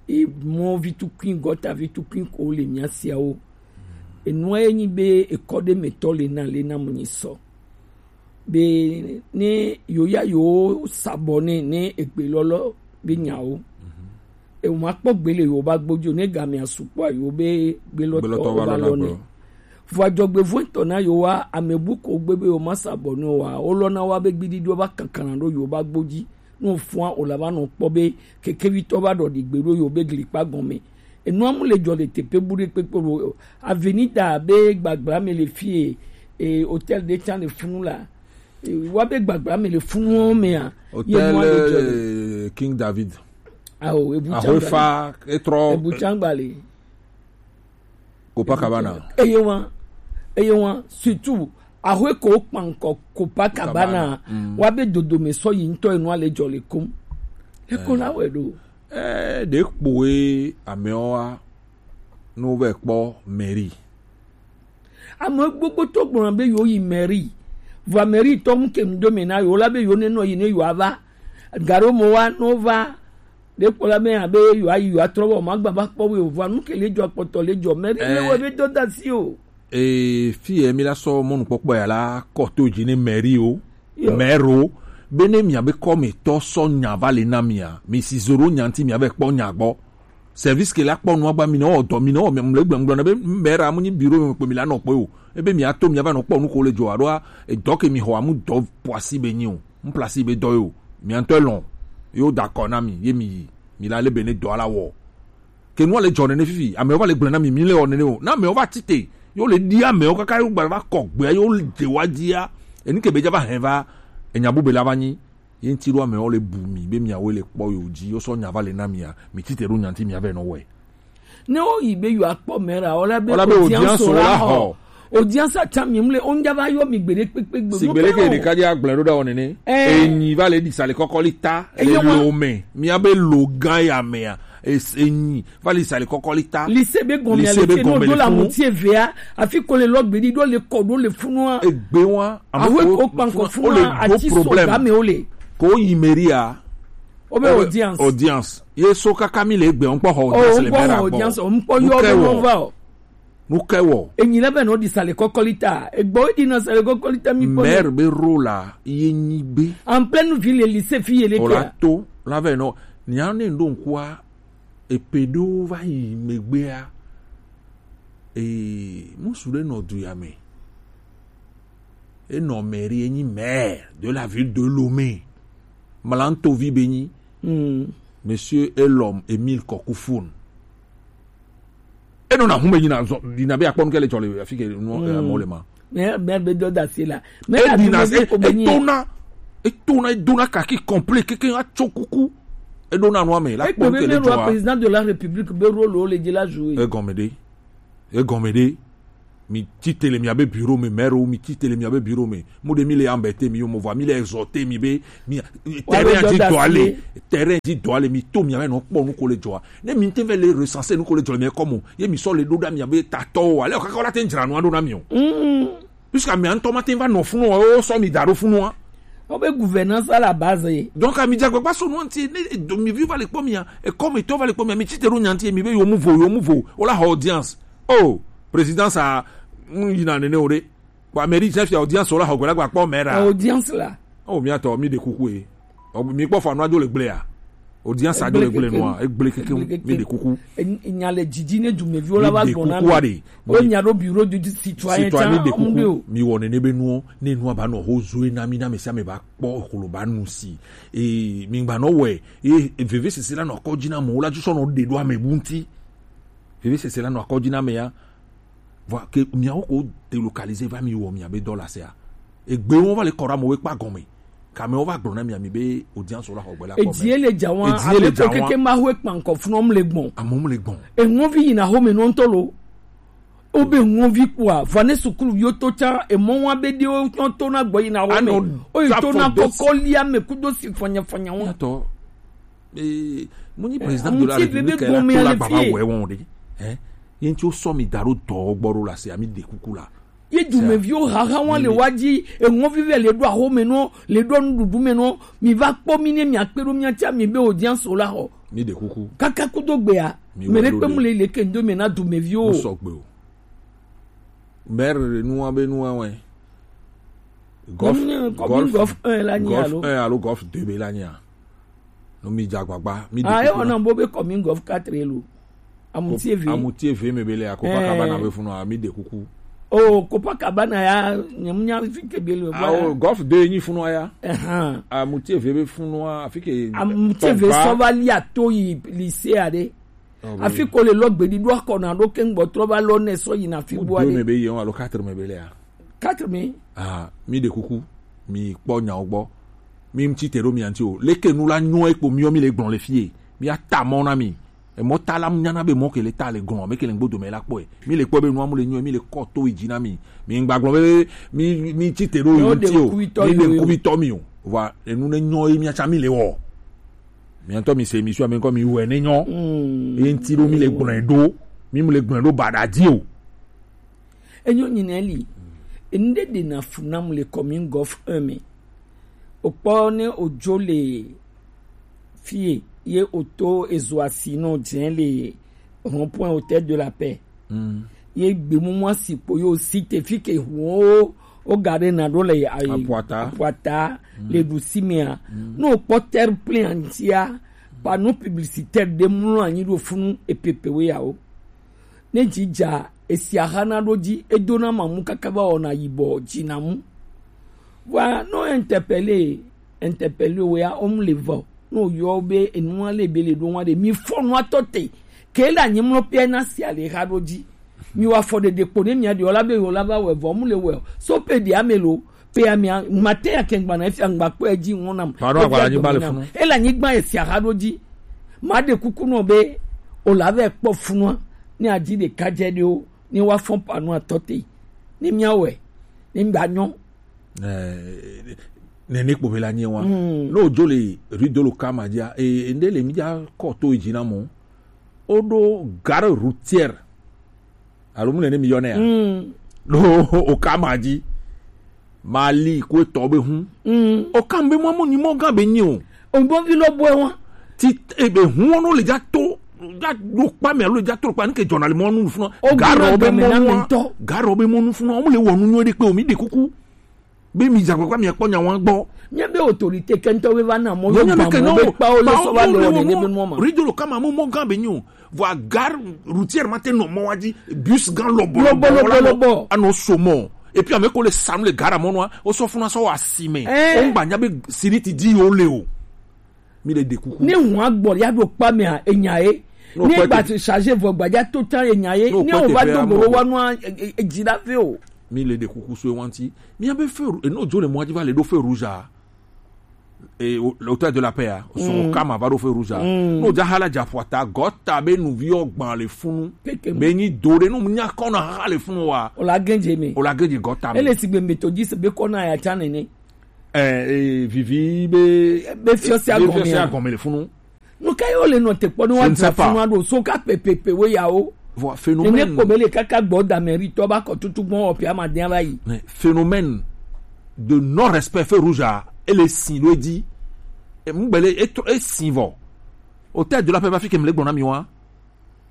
Mɔ vitukui gɔta vitukui ko le mía siawo. Enua ye nyi be ekɔ ɖe me tɔ le na le na mo nyi sɔ. Be ne yo ya yo sabɔ ne ne egbe lɔlɔ be nyawo. Ewo ma kpɔ gbe le yo ba gbojo ne gamea sukpɔ yo be gbe lɔtɔ ba lɔ ne. Vɔ adzɔgbe vɔntɔ na yo wa ame bu ko gbe be yo ma sabɔ ne wa o lɔ na wa be gbidi do ba kankana do yo ba gboji. No fua o la ba no kpɔ be kekevi tɔ ba dɔ di gbe do yo be gli kpa gɔme. Enua mu le dzɔ le teƒe bu ɖe kpekpe o. Avenida be gbagbla me le fie, e, hôtel ɖe tsã le funu la. E, wa be gbagbla me le funu mea. Hôtel, eh, King David. Awo, ebu tsã gba le. Ahoefa, etrɔ. Ebu tsã gba le. Copacabana. Eye wa, eye wa, surtout, ahoe ko kpankɔ Copacabana. Wa be dodo me sɔ yi ŋutɔ enua le dzɔ le kom. Eko la wɛ ɖo. Eh, ɖe kpoe amewo wa no vɛ kpɔ mairie. Ame gbogbo to gblɔ be yo yi mairie. Vɔ mairie tɔ mu ke ŋdo me na yo la be yo ne nɔ yi ne yo ava. Garo mo wa no va. Ɖe kpɔ la be abe yo ayi yo atrɔ vɔ ma gba va kpɔ we o vɔ nu ke le dzɔ kpɔtɔ le dzɔ mairie le wɔ be dɔ da si o. Ee, fi ye mi la sɔ mɔnukpɔkpɔ ya la kɔ to dzi ne mairie o. Mɛro, bene miabe kɔmetɔ sɔ nya va le na mia, mi si zoro nya ŋuti miavɛ kpɔ nya gbɔ. Service ke la kpɔ nua gba mi nɔ wɔ dɔ mi nɔ wɔ mle gblɔgblɔ na be mɛra mu nyi biro me kpe mi la nɔ kpɔ o. Ebe mi ato mi ava nɔ kpɔ nu ko le dzɔ alo edɔ ke mi xɔ amu dɔ poasi be nyi o. Mu plasi be dɔ yo. Mi antɔ lɔn. Yo da kɔ na mi ye mi yi. Mi la le be ne dɔ ala wɔ. Ke nua le dzɔ nene fifi, amewo va le gblɔe na mi, mi le wɔ nene o. Na amewo va tite, yo le ɖi amewo kaka yo gba va kɔ gbea yo de wa dzia. Enu ke be dza va hɛn va, enya bube la va nyi. Ye ŋuti ɖo amewo le bu mi be miawoe le kpɔ yo dzi, yo sɔ nya va le na mia, mi tite ɖo nya ŋuti mia vɛ nɔ wɔe. Ne wo yi be yo akpɔ mɛ la, wala be audience la xɔ. Audience atsã mi mle, o ŋdza va yɔ mi gbeɖe kpekpe gbe. Sigbe leke ɖeka dzi agblẽ ɖo ɖa wɔ nene. Enyi va le ɖi sali kɔkɔli ta le lo me. Mia be lo gã ya mea. Enyi va le sali kɔkɔli ta. Lycée be gɔmea le fi no do la muti evea. Afi ko le lɔ gbeɖi ɖo le kɔ ɖo le funua. Egbe wa. Awe ko kpankɔ funua ati so game o le. Ko yi meria. O be audience. Audience. Ye so kaka mi le egbe ŋkpɔ xɔ audience le mera gbɔ. Ŋkpɔ yɔ be no va o. Nu kae wɔ? Enyi lɛ be nɔ ɖi sale kɔkɔli ta. Egbɔ eɖi na sale kɔkɔli ta mi kpɔ. Mɛr be ro la ye nyi be. En pleine ville lycée fi ye le kia. Ola to la vɛ nɔ nia ne ɖo ŋkua epe ɖo va yi megbea. Ee, musu ɖe nɔ du ya me. Enɔ mairie enyi maire de la ville de Lomé. Malantovi be nyi. Monsieur Elom Emile Kokufun. Enɔna hume yina zɔ dina be akpɔ nu ke le dzɔ le afi ke nu eh, mɔ le ma. Mais mais be dɔ da se la. Mais e dina e tona e tona e dona kaki complet keke atso kuku. E dona nu ame la kpɔ nu ke le dzɔ. Président de la République be rôle o le dzi la jouer. E gɔme de. E gɔme de. Mi tite le miabe bureau me, maire, mi tite le miabe bureau me. Mu de mi le embêter mi yo, mo va mi le exhorter mi be mi terrain di do ale, terrain di do ale, mi to mi ame no kpɔ nu ko le dzɔa. Ne mi te ve le recenser nu ko le dzɔ le mi kɔmɔ, ye mi sɔ le do da mi abe tatɔ o. Ale o kaka la te dzra nu do na mi o. Puisque mi antɔ ma te va nɔ funu o, so mi da do funu a. O be gouvernance à la base. Donc, mi dza gbagba so nu anti, ne do mi vi va le kpɔ mi a, e comme to va le kpɔ mi a, mi tite do nyanti, mi be yo mu vo, yo mu vo, o la audience. Oh, présidence a, mm, yina nene o de. Bon, mairie chef ya audience la, hogbe la gba kpɔ maire a. Audience la. Oh, mi atɔ, mi de kuku e. Oh, mi kpɔ fa no ajo le gble a. Audience ajo le gble no a, e gble keke, mi de kuku. Nya le didi ne du me viola va gbona. Mi de kuku a de. O nya do bureau du citoyen. Citoyen, mi de kuku. Mi wɔ nene be nuɔ, ne nu aba nɔ ho zoe na mi na me sia me ba kpɔ holo ba nu si. E mi gba nɔ wɛ, e veve sese la nɔ kɔ dzi na mo la ju sɔ nɔ de do ame bunti. Veve sese la nɔ kɔ dzi na me ya. Vɔ ke miawo ko délocaliser va mi wɔ miabe dɔ la sea. Egbe wo va le kɔra mo we kpa gɔme. Kame wo va gblɔ na mi ami be audience la xɔ gbe la kɔ. Edie le dza wa. Edie le dza wa. Keke ma ho ekpa nkɔ fun om le gbɔn. Amom le gbɔn. Enwo vi yina ho me no nto lo. O be enwo vi kua. Vane sukulu yo to cha emɔ wa be de o nyo to na gbɔ yina ho me. O yi to na kɔkɔ lia me kudo si fanya fanya wa. Yato. Eh, mo nyi président de la République la to la baba wɛ won de. Hein? Yin ti o sɔ mi daro dɔ gbɔ ro la se ami de kuku la. Ye dumeviwo haha wa le wa dzi eŋɔvi vɛ le ɖo aho me nɔ le ɖo nuɖuɖu me nɔ mi va kpɔ mi ne mi akpe ɖo mi atsa mi be audience o la xɔ. Mi de kuku. Kaka kudo gbea mi me ɖe kpe mu le le ke ndo me na dumeviwo. Sɔgbe o. Maire nua be nua wɛ. Golf, golf, golf un la nyi alo golf deux be la nyi a. No mi dza gbagba mi de. Ah, e wona bo be commune golf quatre lo. Amuti eve. Amuti eve me be le akopa kabana be funu a mi de kuku. Oh, Copacabana ya nyemunya fi ke be le. Ah, golf deux nyi funu ya. Amuti eve be funu a fi ke. Amuti eve so va li ato yi lycée a de. Afi ko le lɔ gbedi ɖo akɔ na ɖo ke ŋgbɔ trɔ va lɔ nɛ sɔ yina fi bua ɖe. Deux me be yi alo quatre me be le a. Quatre me. Ah, mi de kuku, mi kpɔ nyawo gbɔ. Mi ŋtsi te ɖo mi anti o. Leke nu la nyɔ ekpo mi mi le gblɔ le fie. Mi ata mɔ na mi. Emɔ ta la mu nyana be mɔ ke le ta le gɔn, me ke le ŋgbodo me la kpɔe. Mi le kpɔ be nu amu le nyɔ, mi le kɔ to yi dzi na mi. Mi ŋgba gblɔ be mi mi tsi te ɖo yi ŋti o. Mi de kuku tɔ mi o. Va enu ne nyɔ yi mi atsa mi le wɔ. Mi ŋutɔ mi se émission ame ŋkɔ mi wɔe ne nyɔ. Ye ŋti ɖo mi le gblɔe ɖo. Mi mu le gblɔe ɖo baɖa di o. Enyo nyina li. Enu ɖe ɖena fu nam le commune golf un me. Okpɔ ne odzo le fie ye oto ezo asi no dze le rond-point Hôtel de la Paix. Ye gbemumu asi kpo yo si te fi ke hu o ga ɖe na ɖo le apuata le ɖusi mea. Ne okpɔ terre plein antia panneau publicitaire ɖe mlɔ anyi ɖo funu epepe we yawo. Ne dzi dza esia hana ɖo dzi edona mamu kaka va wɔna yibɔ dzina mu. Vɔa no interpellé interpellé wea om le vɔ no yɔ be enua le be le ɖo wa ɖe mi fɔ nua tɔ te ke le anyi mlɔ pia na sia le ha ɖo dzi. Mi wa fɔ ɖeɖe kpo ne mia ɖe o la be o la va wɛ vɔ mu le wɛ o so pe ɖe ame lo pe amia mate ya kengba na efia ngba kpɔ edzi ŋɔ nam. Pardon, agba anyigba le funu. Ele anyigba esia ha ɖo dzi. Ma ɖe kuku nɔ be o la vɛ kpɔ funua ne adzi ɖeka dze ɖe o ne wa fɔn panu atɔ te ne mia wɛ ne mia nyɔ. Nene kpo be la nye wa. No jo le rue de l'Okama dzia e nde le mi dza kɔ to edzi na mo. Woɖo gare routière alo mu nene mi yɔnɛ ya. Ɖo Okama dzi mali ko etɔ be hu. Okam be mɔ mo nyi mɔ gã be nyi o. Ogbɔvi lɔ bɔe wa. Ti ebe hu wɔn le dza to dza ɖo kpa me alo dza to kpa nke dzɔna le mɔ nu funu. Garɔ be mɔ nu garɔ be mɔ nu funu wɔn le wɔ nu nyɔ ɖe kpe o mi ɖe kuku. Be mi dza gbagba mi akpɔ nya wa gbɔ. Mia be autorité kɛntɔ be va na mɔ yo gba mɔ be kpawo le sɔ va le wɔ nene be mɔ ma. Ridolo kama mo mɔ gã be nyi o. Vɔ gare routière ma te nɔ mɔ wa dzi bus gã lɔbɔ lɔbɔ lɔbɔ lɔbɔ anɔ so mɔ. Et puis ame ko le sanu le gare mɔ nua o sɔ funa sɔ wa si me. O ŋgba nya be siriti di yo le o. Mi le de kuku. Ne ŋua gbɔ ya ɖo kpa mea enya ye. Ne gba ti charge vɔ gbadza to tan enya ye. Ne o va do goro wa nua edzi la ve o. Mi le de kuku so wanti. Mi abe feu eno jo le mɔ dzi va le do feu rouge a. Et au- l'auteur de la paix, hein, au son kama va au feu rouge, hein. No ja hala ja fwata, gota be nu vi o gban le funu. Be ni do de no nya kona ha le funu wa. O la genje me. O la genje gota me. Ele si be methodiste be kona ya cha nene. Eh, eh, vivi be Be fiɔ si be agɔme fiɔ si ya. Agɔme le funu. No ka yo le no te kpɔ no wa Je ne sais pas. Funu ado so ka pepepe we ya o. Voilà, phénomène. Ene ko be le kaka gbɔ da meri to ba ko tutu gbɔ o pia ma den ba yi. Mais phénomène de non-respect feu rouge a, ele si lo di. E mu gbele e tro- e si vo. Au terme de la paix, ma fi ke mle gbɔna mi wa.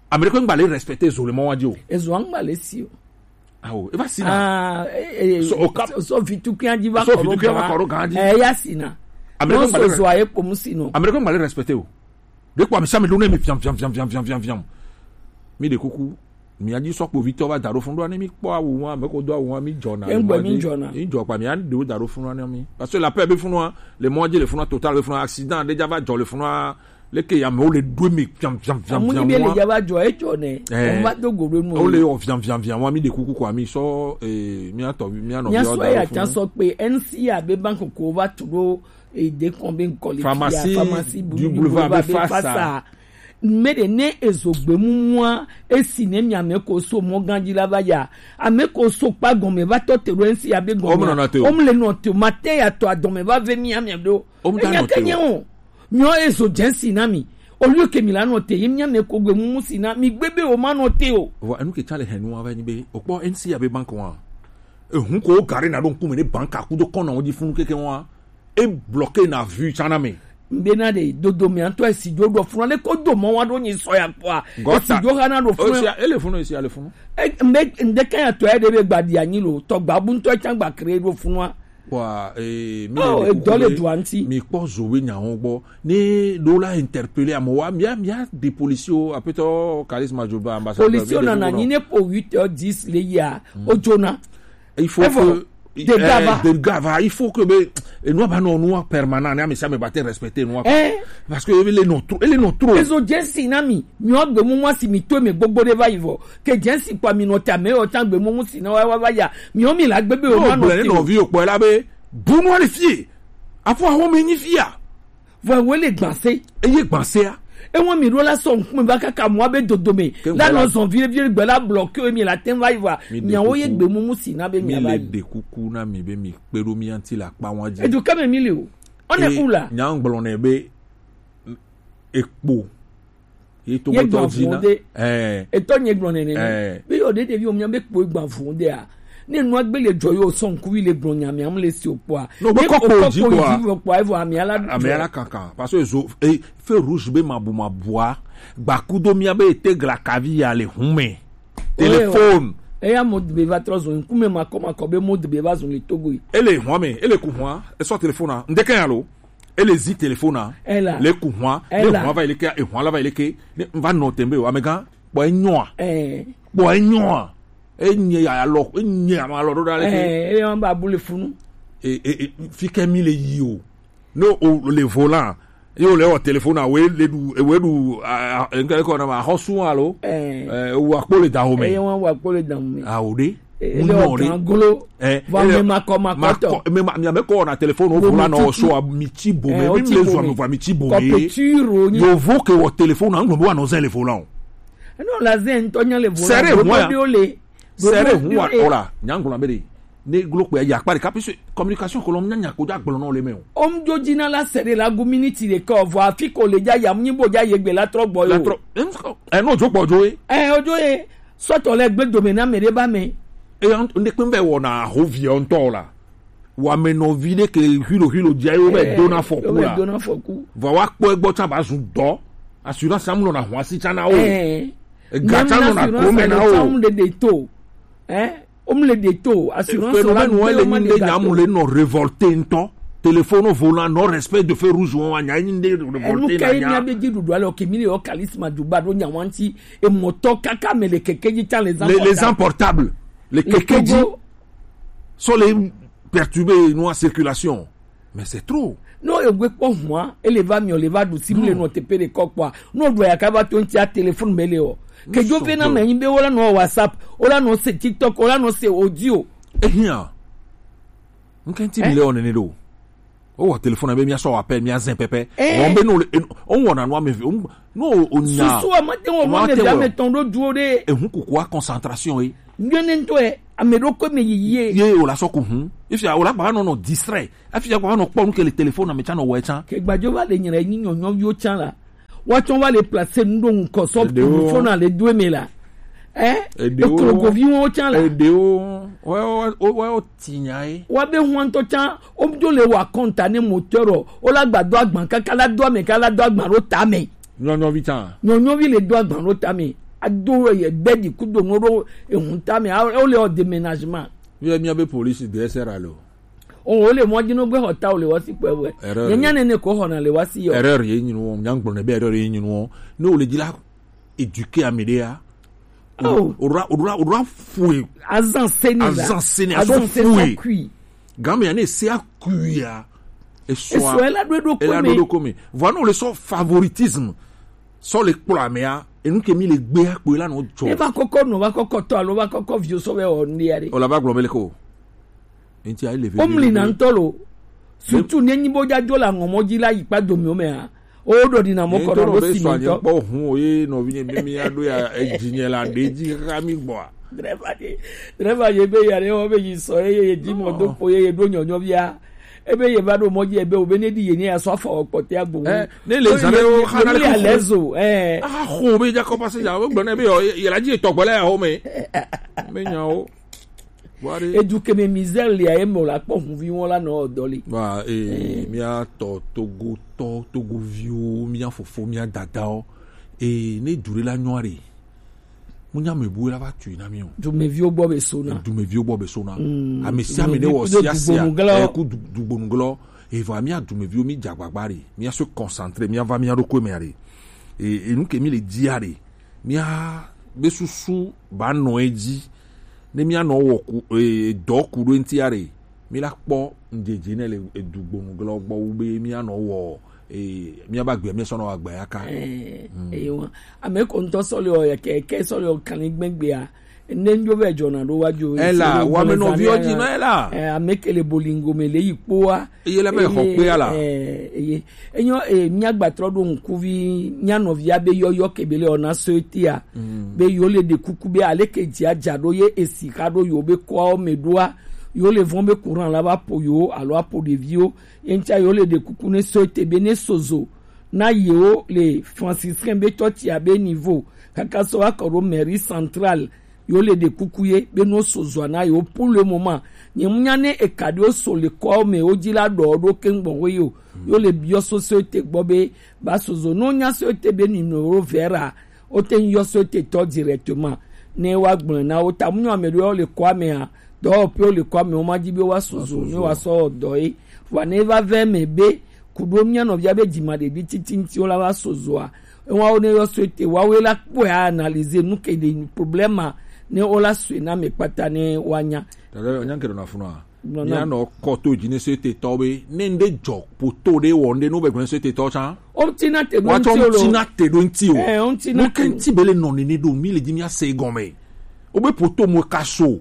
Américain ngba le respecter zo le mo wa di o. Ezo angba le si o. Ah, oh, e va si na. Ah, eh, eh, So, au cap- so, so vitu ki andi va So koro vitu ki andi va gan. Koro gan di. Eh, ya si na. Américain No ngba le so zo aye pomu si no. Américain ngba le respecter o. De kwa mi sa mi lune mi fiam fiam fiam fiam fiam fiam fiam. Mi de kuku. Mi adi so po Victor va daro fun do ani mi po awu wa, me ko do awu wa mi jona. Engbe mi jona. Mi jo pa mi adi do daro fun ani mi. Parce que la paix be fun wa, le monde le fun total be fun accident déjà va jo le fun. Leke ya me o le do mi fiam fiam fiam. Amu ni fiam be le wa. Ya va jo e jo ne. Eh. O ma do go do nu. O le o fiam fiam fiam wa mi de kuku kwa mi so eh mi ato mi ano. Mi aso ya chan so pe N C A be bank ko va turo e de kon be nkoli. Pharmacie pharmacie du boulevard be face à. Me de ne ezo gbe mumua esi ne mi ame ko so mo ganji la va ya. Ame ko so pa gome va to turo N C A be gome. O mo na te o. O mo le no te o. Matin ya to adome va ve mi ame do. O mo ta no te o. Enya ke nye o. Mi o ezo jensi na mi. Au lieu que mi la no te, ye mi ame ko gbe mumu si na mi gbe be o ma no te o. Wa enu ke chale henu wa ni be. O po N C A be bank wa. E hun ko gare na do nkume ne bank akudo kona won di funu keke wa. E bloqué na vue chana me. Mbe na de dodo mi anto e si do do funu le ko do mo wa do ni so ya kwa. E si do ha na do funu. O si ele funu, e si ele funu. E mbe nde ka ya to e de be gba di anyi lo. To gba bu nto e chan gba kre do funu a. Wa eh mi Oh, le e do le do anti. Mi po zo we nya won gbo. Ni do la interpeller amo wa mi a mi a de police o apeto charisme joba ambassadeur. Police o na na ni ne po huit heures dix le ya. O jona. Il faut que de gava. De gava, il faut que be et nous ba non nous permanent na mais ça me batte respecter nous. Eh. Parce que il est non trop, il est non trop. Ezo jensi na mi. Mi o gbe mumu si mi to me gbogbo de va ivo. Ke jensi pa mi no ta me o tan gbe mumu si na wa wa ya. Mi o mi la gbe be o ma no. No vi o po la be. Bunu ali fie. Afo awo me ni fia. Vɔ ewo le gbanse. Eye gbanse a. Ewo mi ɖo la sɔ ŋkume va kaka mɔ abe dodome. La nɔ zɔn vie vie gbe la bloqué mi la tɛn va yi va. Miawo ye gbe mumu si na be mi va yi. Mi le ɖe kuku na mi be mi kpe ɖo mi ŋuti le akpa wa dzi. Edu kame mi le o. On est où là? Nya ŋgblɔ nɛ be ekpo. Ye to gban gbɔtɔ dzi na. Etɔ nye gblɔ nene ne. Be yɔ ɖe ɖevi o mia be kpo gban fu de a. Ne nua gbe le dzɔ yo sɔn kuvi le gblɔ nya mia mu le si o kpɔa. No be kɔ kpo dzi kpɔa evo amia la. Amia la kankan parce que zo e feu rouge be mabu mabua. Gbakudo mia be ete gla kavi ya le hume. Téléphone. Eya mo be va trɔ zo nkume makɔ makɔ be mo be va zo le Togo yi. Ele hwa me, ele ku hwa, e sɔ téléphone a. Ndeke ya lo. Ele zi téléphone a. Ela. Le ku hwa, le hwa va ileke, e hwa la va ileke. Ne va nɔ tembe wa mega. Kpɔ enyoa. Eh. Kpɔ enyoa. Enye ya alɔ, enye ya ma alɔ ɖo ɖa leke. Eh, ele wan ba bu le funu. E e e fi ke mi le yi o. No o le volant. Yo le o téléphone a we le du e we du a nke ko na ma hosu alo. Eh. Eh, wa kpo le da o me. Eh, wan wa kpo le da o me. A o de. Ele o kan golo. Eh, va me ma kɔ ma kɔ tɔ. Me ma me ko na téléphone o volant no so a mi ti bo me. Mi le zo me va mi ti bo me. Yo vo ke o téléphone a ngbo wa no ze le volant. Non, la zen to nya le volant. Sere hwa. Sere hwa ola, nya ngolo be de. Ne glo pe ya pa de ka puisque communication ko lo nya nya ko ja gblɔ no le me o. Om jo jina la sere la gu minute de ko vo afi ko le ja ya mnyi bo ja ye gbe la trɔ gbɔ yo. La trɔ. Eh no jo gbɔ jo e. Eh ojo e. Sɔtɔ lɛ gbe dome na mɛ ɖe ba mɛ. Eya ne kpe bɛ wɔna ahoviɛ ŋutɔ la. Wamɛnɔvi ɖe ke hilo hilo dzi ayi wo bɛ dona fɔku la. Dona fɔku. Vɔ wa kpɔ egbɔ tsa ba zu dɔ. Assurance amu nɔna hɔn asi tsa na wo. Ega tsa nɔna gome na wo. Amu ɖe ɖe to. Ɛ, omu le ɖe to. Assurance la. Phénomène wo le nyi ɖe nyamu le nɔ révolté ŋutɔ. Téléphone volant, non respect de feu rouge, on va nya nyi ɖe révolté na nya. Enu ka ye mia be dzi ɖuɖu alɔ ke mi le yɔ kalisma du ba ɖo nya wa ŋuti. Emɔtɔ kaka me le keke dzi tsa les les portables, les keke dzi sont les perturbés nous en circulation. Mais c'est trop. No egbe kpɔ hua ele va miɔ le va ɖu si mu le nɔ tepe de kɔ kpɔa. No ɖu ya ka va to ŋuti a téléphone me le o. Kedzo pe na me nyi be wola nɔ WhatsApp, wola nɔ se TikTok, wola nɔ se audio. Ehia. Nkenti mi le o nene do. O wɔ téléphone be mia sɔ appel, mia zɛn pɛpɛ. Eh. Wɔn be no le, o wɔna no ame vi, o no o nya. Susu a ma te wɔ o ma wɔn te ne wɔ. Ame tɔn ɖo duo ɖe. Ehun kuku a concentration ye. Nyɔne ŋutɔ ye, ame ɖo ko me yiyi ye. Ye o la sɔ ku hun. Efia o la gba nɔ nɔ distrait. Efia gba nɔ kpɔ nu ke le téléphone me tsa nɔ wɔ tsa. Ke gbajo va le nyina nyi nyɔnyɔviwo tsa la. Woatsɔ va le placer nu ɖo ŋkɔ sɔ. Eɖewo. Fona le do eme la. Eh? Eɖewo. Eklogoviwo tsã la. Eɖewo. Woawo tinya ye. Woabe huantɔ tsã, wodzo le wa kɔnta ne moteur o. Wola gba do agban kaka la do ame kaka la do agban ɖo tame. Nyɔnyɔvi tsã. Nyɔnyɔvi le do agban ɖo tame. Ado ye bedi kudo no ɖo ehun tame. A, wole o déménagement. Ye mia be police de sera lo. O, o le mɔ dzi no gbe xɔ ta o le wasi kpɛ wɛ. Erreur. Nye nya nene ko xɔna le wasi yɔ. Erreur ye nyi nuwo, nya gblɔ ne be erreur ye nyi nuwo. Ne o le dzi la éduquer ame ɖe ya. Oh. O ra, o ra, o ra fue. Azan seni la. Azan seni, azan seni sɔ kui. Game ya ne se akui ya. Esɔ. Esɔ ela do eɖo kome. Ela do eɖo kome. Vɔ ne o le sɔ favoritisme. Sɔ le kplɔ ame ya. Enu ke mi le gbe akpo la no jɔ. E va kɔkɔ no, va kɔkɔ tɔ alo va kɔkɔ vio sɔ vɛ o ne ya ɖe. O la va gblɔ be le ko. Enti ayi le veve. Omli na ŋutɔ lo. Surtout ne nyi bo dza dzo le aŋɔmɔ dzi la yi kpa domiwo mea. O ɖɔ ɖi na mɔ kɔ ɖo si mi ŋutɔ. Kpɔ hun o ye nɔvi nye mi aɖo ya edzi nye la ɖe dzi kaka mi gbɔa. Dreva ye, dreva ye be ya ɖe wɔ be yi sɔ ye ye dzi mɔ do kpo ye ye ɖo nyɔnyɔvia. Ebe ye va ɖo mɔ dzi ebe o be ne ɖi ye ne ya sɔ afɔ kpɔtɛ agbo. Eh, ne le zan ɖe wo xa na le le ko. Alezo, eh. Aha xo be dza kɔ pase ya wo gblɔ ne be yɔ ye la dzi tɔgbɔ le ya xo me. Me nya wo. Edu ke me misère lia ye me la kpɔ huvi wɔn la nɔ dɔ li. Ba, eh, mia tɔ Togo tɔ, Togo viwo, mia fofo, mia dadawo. Eh, ne du ɖe la nyɔ ɖe. Mu nya me bu la va tu na mi o. Dumeviwo gbɔ be so na. Dumeviwo gbɔ be so na. Mm, ame sia ame ne wɔ sia sia. Dugbonu glɔ. Eh, ku du-, dugbonu glɔ. Evɔ mia dumeviwo mi dza gbagba ɖe. Mia so concentré, mia va mia ɖo ko me ɖe. Eh, enu ke mi le dia ɖe. Mia be susu ba nɔ edzi. Ne mia nɔ wɔ ku, e, dɔ ku ɖo ŋuti ya ɖe, mi la kpɔ ŋdzedze ne le edugbonu glɔ gbɔ wu be mia nɔ wɔ, e, mia ba gbea mia sɔ nɔ wɔ agba ya ka. Eh, mm. Eye wa. Ame ko ŋutɔ sɔ le wɔ yɛ kɛ, kɛ sɔ le wɔ kan ni gbɛgbea. Ne ŋdzo vɛ dzɔna ɖo wa dzo. Ela, wa me nɔ viwo dzi na ela. Eh, ame ke le bolingo me le yi kpoa. Eye la be xɔ kpe ala. Eh, eye. Enyo, eh, mia gba trɔ ɖo ŋkuvi, mia nɔvia be yɔyɔ ke be le ona so etia. Mm. Be yo le ɖe kuku be ale ke dzia dza ɖo ye esi xa ɖo yo be kɔawo me ɖoa. Yo le vɔn be courant la va po yo, alo apo ɖeviwo. Ye ŋtsa yo le ɖe kuku ne so ete be ne sozo. Na yewo le franciscain be tsɔtsia be niveau. Kaka sɔ wa kɔ ɖo mairie centrale. Yo le ɖe kuku ye be no so zɔa na yo pour le moment. Nye mu nya ne eka ɖe wo so le kɔawo me wo dzi la ɖɔ ɖo ke ŋgbɔn wo yo. Yo le biɔ so so ete gbɔ be ba so zo no nya so ete be numéro vert a. Wo te yɔ so ete tɔ directement. Ne wa gblɔ na wo ta mu nyɔ ame ɖo le kɔa me a. Dɔ pe wo le kɔa me wo ma dzi be wa so zo ne wa sɔ dɔ ye. Wa ne va vɛ me be Kuɖo mía nɔvia be dzimaɖeɖi titi ŋuti wo la va so zoa. Ewa wo ne yɔ so ete wa wo la kpɔe a analyser nu ke ɖe problème a ne wo la so na me kpata ne wa nya. Dada, nya ke ɖo na funu a. Mía nɔ kɔ to dzi ne so ete tɔ be ne ŋɖe dzɔ poto ɖe wɔ ŋɖe no be gblɔ so ete tɔ tsã. O ŋuti na te ɖo ŋuti o lo. Ŋuti na te ɖo ŋuti o. Eh, o ŋuti na te. Nu ke ŋuti be le nɔ nene ɖo mi le dzi mía se gɔme. O be poto mo ka so.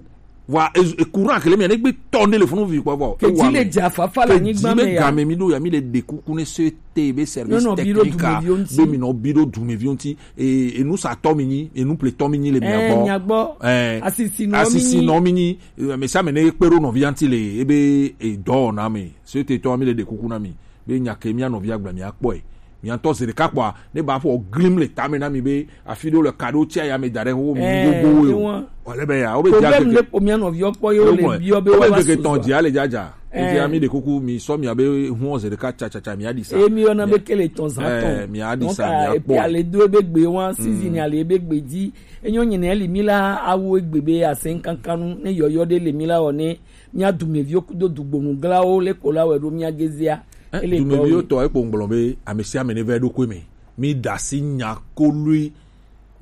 Wa e, e courant kele mia ne gbe tɔ ne le funu vi kpɔ bɔ. Ke dzi le dza fafa le anyigba me ya. Ke dzi be game mi ɖo ya mi le ɖe kuku ne so ete be service technique a. Be mi nɔ bi ɖo dumeviwo ŋuti. E, enusatɔ mi nyi, enupletɔ mi nyi le mia gbɔ. Eh, mia gbɔ. Eh, asisi nɔ mi nyi. Asisi nɔ mi nyi. Eh, ame sia ame ne kpe ɖo nɔvia ŋuti le ebe edɔ wɔna me. So ete tɔ mi le ɖe kuku na mi. Be nya ke mía nɔvia gblɔ mía kpɔe. Mía ŋutɔ zi ɖeka kpɔa, ne ba ƒo glim le tame na mi be afi ɖewo le ka ɖewo tsi aya me da ɖe wo mi gogo wo. Wale be ya, wo be dia problème le po mía nɔviwo kpɔ ye wo le biɔ be wo va su. Tɔn dzi ale dzadza. Eti ami ɖe kuku mi sɔ mia be hun zi ɖeka tsa tsa tsa mia ɖi sa. Emi yɔ na be kele tɔn za tɔn. Mia ɖi sa mia kpɔ. Epi ale do ebe gbe wa season ale ebe gbe dzi. Enyo nyine eli mi la awo egbe be asen kankanu ne yɔyɔ ɖe le mi la wɔ ne Mía dumeviwo kudo dugbonuglawo le ko la wɛ ɖo mía gezea. Eh, ele dumeviwo tɔ ekpo ŋgblɔ be ame sia ame ne va eɖokui me. Mi da asi nya koloe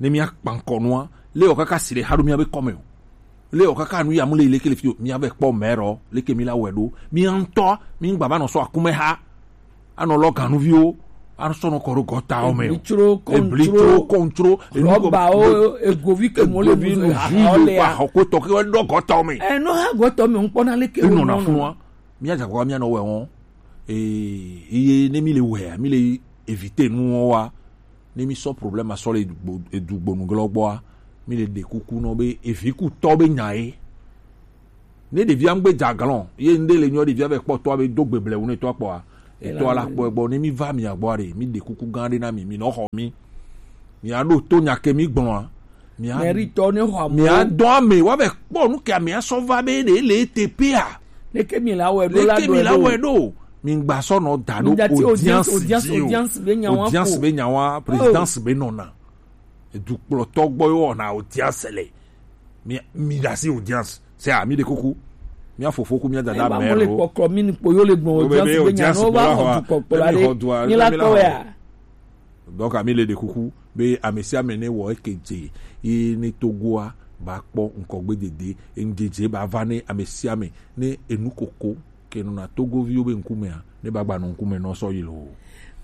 ne mía kpankɔ nua. Le wɔ kaka si le ha ɖo mía be kɔme o. Le wɔ kaka nu ya mu le leke le fi o. Mía be kpɔ mɛ rɔ leke mi la wɛ ɖo. Mía ŋutɔ mi ŋgba va nɔ sɔ akume ha. Anɔ lɔ ganuviwo, anɔ sɔ nɔ kɔ ɖo gɔtawo me o. Ebli tsro kɔn tsro. Ebli tsro kɔn tsro. Rɔbawo, egovi ke mo le mu zo ha le ya. Xɔ ko tɔ ke ɖo gɔtawo me. Ɛ, nɔ ha gɔtawo me ŋkpɔ na leke wo nɔ na funua. Mía dza kɔ mía nɔ wɛ wɔn. Ee, iye ne mi le wɛa, mi le éviter nu wɔn wa. Ne mi sɔ problème asɔ le dugbo- edugbonu glɔ gbɔa, mi le ɖe kuku nɔ be evi ku tɔ be nya ye. Ne ɖevia ŋgbe dza glɔn, ye ŋɖe le nyɔ ɖevia vɛ kpɔ tɔa be do gbe blewu ne tɔa kpɔa, etɔa la kpɔe gbɔ. Ne mi va mia gbɔa ɖe, mi ɖe kuku gã ɖe na mi, mi nɔ xɔ mi. Mia ɖo to nya ke mi gblɔa. Mia Mɛritɔ ne xɔ amewo. Mia dɔn ame wa vɛ kpɔ nu ke amea sɔ va be ɖe le ete pea. Leke mi la wɛ ɖo la Leke mi la wɛ ɖo. Mi gba sɔ nɔ da ɖo Mi da ti audience, audience, audience, dzi o. Audience be nya wa Audience ko. Be nya wa, Oh. Présidence be nɔna. Edukplɔtɔ gbɔ ye wɔna audience le. Mi mi da si audience. Se a mi de kuku. Mia fofo ku mia dada Eba mo le mɛro. Kpɔkɔ mi ni kpo yo le gbɔn Wo be audience be be nya audience no ba gbɔ la xɔ hɔ. Dukɔ kpɔ la Emi de. Xɔ dua, Ni la emi la tɔ xɔ. Ya. Donc ami le de kuku be ame sia ame ne wɔ eke dze ye ne Togoa ba kpɔ ŋkɔgbe dede, eŋdzedze ba va ne ame sia ame ne enu koko ke nɔna Togoviwo be ŋkumea ne ba gba nɔ ŋkume nɔ sɔ yi lo.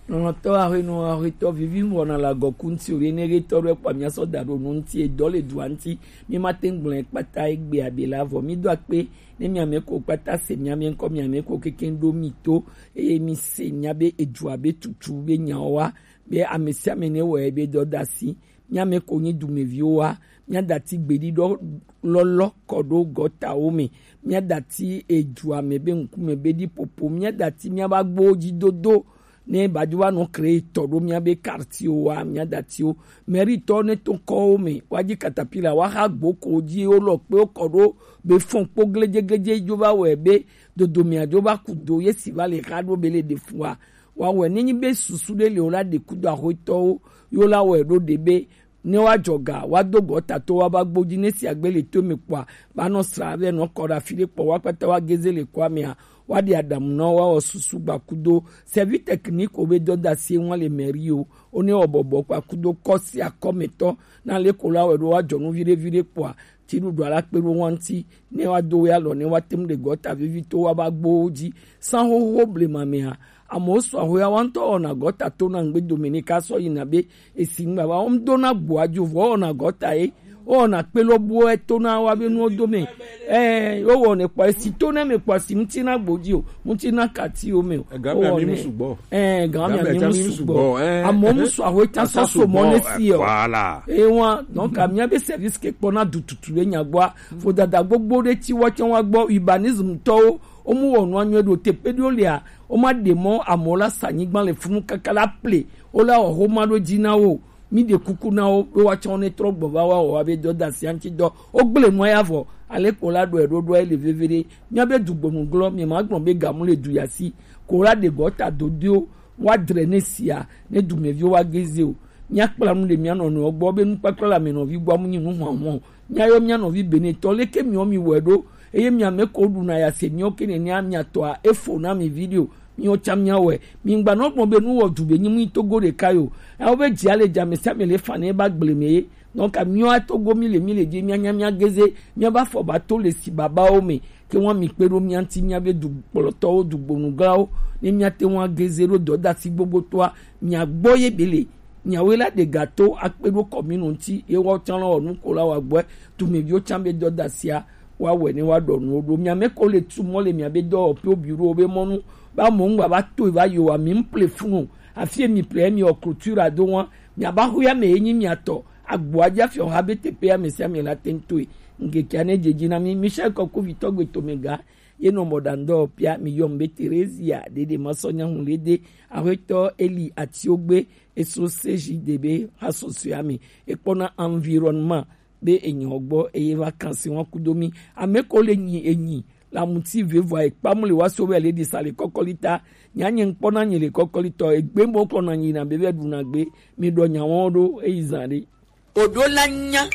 Nɔnɔtɔ ahwenu ahwetɔ vivi ŋgɔ na la gɔku ŋti o ye ne ge tɔ ɖe kpa mia sɔ da ɖo nu ŋti edɔ le dua ŋti mi ma te ŋgblẽ kpata egbe abe la vɔ mi do akpe ne mia me ko kpata se mia me ŋkɔ mia me ko keke ɖo mi to eye mi se mia be edua be tutu be nyawo wa be ame sia ame ne wɔ ebe dɔdasi. Mía mɛ ko nyi dumeviwo wa, mía dati gbeɖiɖɔ lɔlɔ kɔ ɖo gɔtawo mɛ, mía dati edua mɛ be ŋkume be ɖi popo, mía dati mía ba gbowo ji dodo, ne ba jo wa nɔ kre tɔ ɖo mía be quartier wa, mía datiwo, mairie tɔ ne to kɔwo mɛ, wa ji katapila, wa xa gbo ko ji wo lɔ kpe wo kɔ ɖo be fɔn kpo gledze gledze jo va wɛ be dodo mɛ a jo va ku do ye si va le xa ɖo be le ɖe fua. Wa wɛ ne nyi be susu ɖe le wo la ɖe kudo axɔetɔwo yo la wɛ ɖo ɖe be ne wa jɔ ga wa do gɔta to wa ba gbo ji ne si agbe le to me kpɔa ba nɔ sra vɛ nɔ kɔ ɖe afi ɖe kpɔ wa kpata wa geze le kɔa mea wa ɖe adamu nɔ wa wɔ susu gba kudo sɛvi tɛkiniko be dɔdasi ŋua le mɛri o o ne wɔ bɔbɔ kpa kudo kɔ si akɔmetɔ na le ko la wɛ ɖo wa jɔ nu viɖe viɖe kpɔa Tsiɖuɖua la kpe ɖo wa ŋuti, ne wa do we alɔ, ne wa tem ɖe gɔta vevitɔ wa ba gbowo ji. San xoxo blema mea, amewo sɔ ahoya wa ŋutɔ wɔna gɔta to na ŋgbe dome ne ka sɔ yina be esi ŋgba va wo ŋdo na gboa jo vɔ wɔna gɔta ye. Wo wɔna kpe lɔ buɔ eto na wa be nuwo dome. Ɛɛ, wo wɔnɛ kpɔ esi to ne me kpɔ si ŋuti na gbo ji o, ŋuti na kati o me o. Ega mea mi mu sugbɔ. Ɛɛ, gan mea mi mu sugbɔ. Amewo mu sɔ ahoya ta sɔ so mɔ ne si o. Voilà. Ewa, donc amia be service ke kpɔ na du tutu le nyagbɔa. Vodada gbogbo ɖe ti woatsɛ wa gbɔ urbanisme tɔwo womu wɔ nua nyuie ɖo teƒe ɖewo lia woma ɖe mɔ amewo la sa anyigba le funu kaka la ple wola wɔ xoma ɖo dzi na wo mi ɖe kuku na wo be woatsɛ wo ne trɔ gbɔ va wa wɔ wa be dɔdasi aŋti dɔ wogble nua ya vɔ ale ko la ɖɔe ɖoɖoa le veve ɖe mia be dugbɔnu glɔ mi ma gblɔ be gamu le du yasi ko la ɖe gɔta dodoewo woadre ne sia ne dumeviwo woageze o. Míakpla nu le mía nɔnɔewo gbɔ be nukpakpla le ame nɔvi gbɔ amu nyi nu hɔn hɔn. Míayɔ mía nɔvi Benetɔ leke miwo mi wɔe ɖo eye mia me ko ɖuna ya se miwo ke nenea mia tɔa efo na mi video miwo tsã mia wɔe. Mi ŋgba nɔ gblɔ be nu wɔ du be nyi mu nyi Togo ɖeka yo. Ewo be dzi ale dza me sia me le fa ne ba gble me ye. Donc miwo Togo mi le mi le dzi mia nya mia geze mia ba fɔ ba to le si babawo me. Ke ŋua mi kpe ɖo mía ŋuti míabe dukplɔtɔwo, dugbonugãwo, ne míate ŋu ageze ɖo dɔdasi gbogbotoa, mia gbɔ ye be le. Miawoe la ɖe ga to akpe ɖo kɔminu ŋuti, ye woawo tsã la wɔ nu ko la wɔ agbɔe, dumeviwo tsã be dɔdasia woawɔe ne woaɖɔ nuwo ɖo. Mia me ko le tu mɔ le miabe dɔwɔƒewo, bureau be mɔnu, be amewo ŋgba va to va yi o, ami ŋple funu o. Afi ye mi ple ye mi wɔ clôture ado ŋua, miaba xo ya me ye nyi mia tɔ. Agboa dzi afiɔ ha be teƒe ame sia ame la te ŋu toe. Ŋkekea ne dze dzi na mí. Michel Kɔkuvitɔ gbe tome ga ye nɔ mɔ ɖa ŋdɔ pia mi yɔm be Terezia ɖeɖe ma sɔ nyahu le de. Axɔetɔ Eli Atiogbe eso seji de be ha sɔsɔe ame. Ekpɔna environnement be enyɔ gbɔ eye va kan si ŋua kudo mi. Ame ko le nyi enyi la muti vevo ekpamu le wa so be le di sa le kɔkɔli ta. Nya nye ŋkpɔna nyi le kɔkɔli tɔ egbe mo klɔ na nyi na be ve ɖu na gbe. Mi ɖɔ nya wɔn ɖo eyi zã ɖe. Oɖo la nya.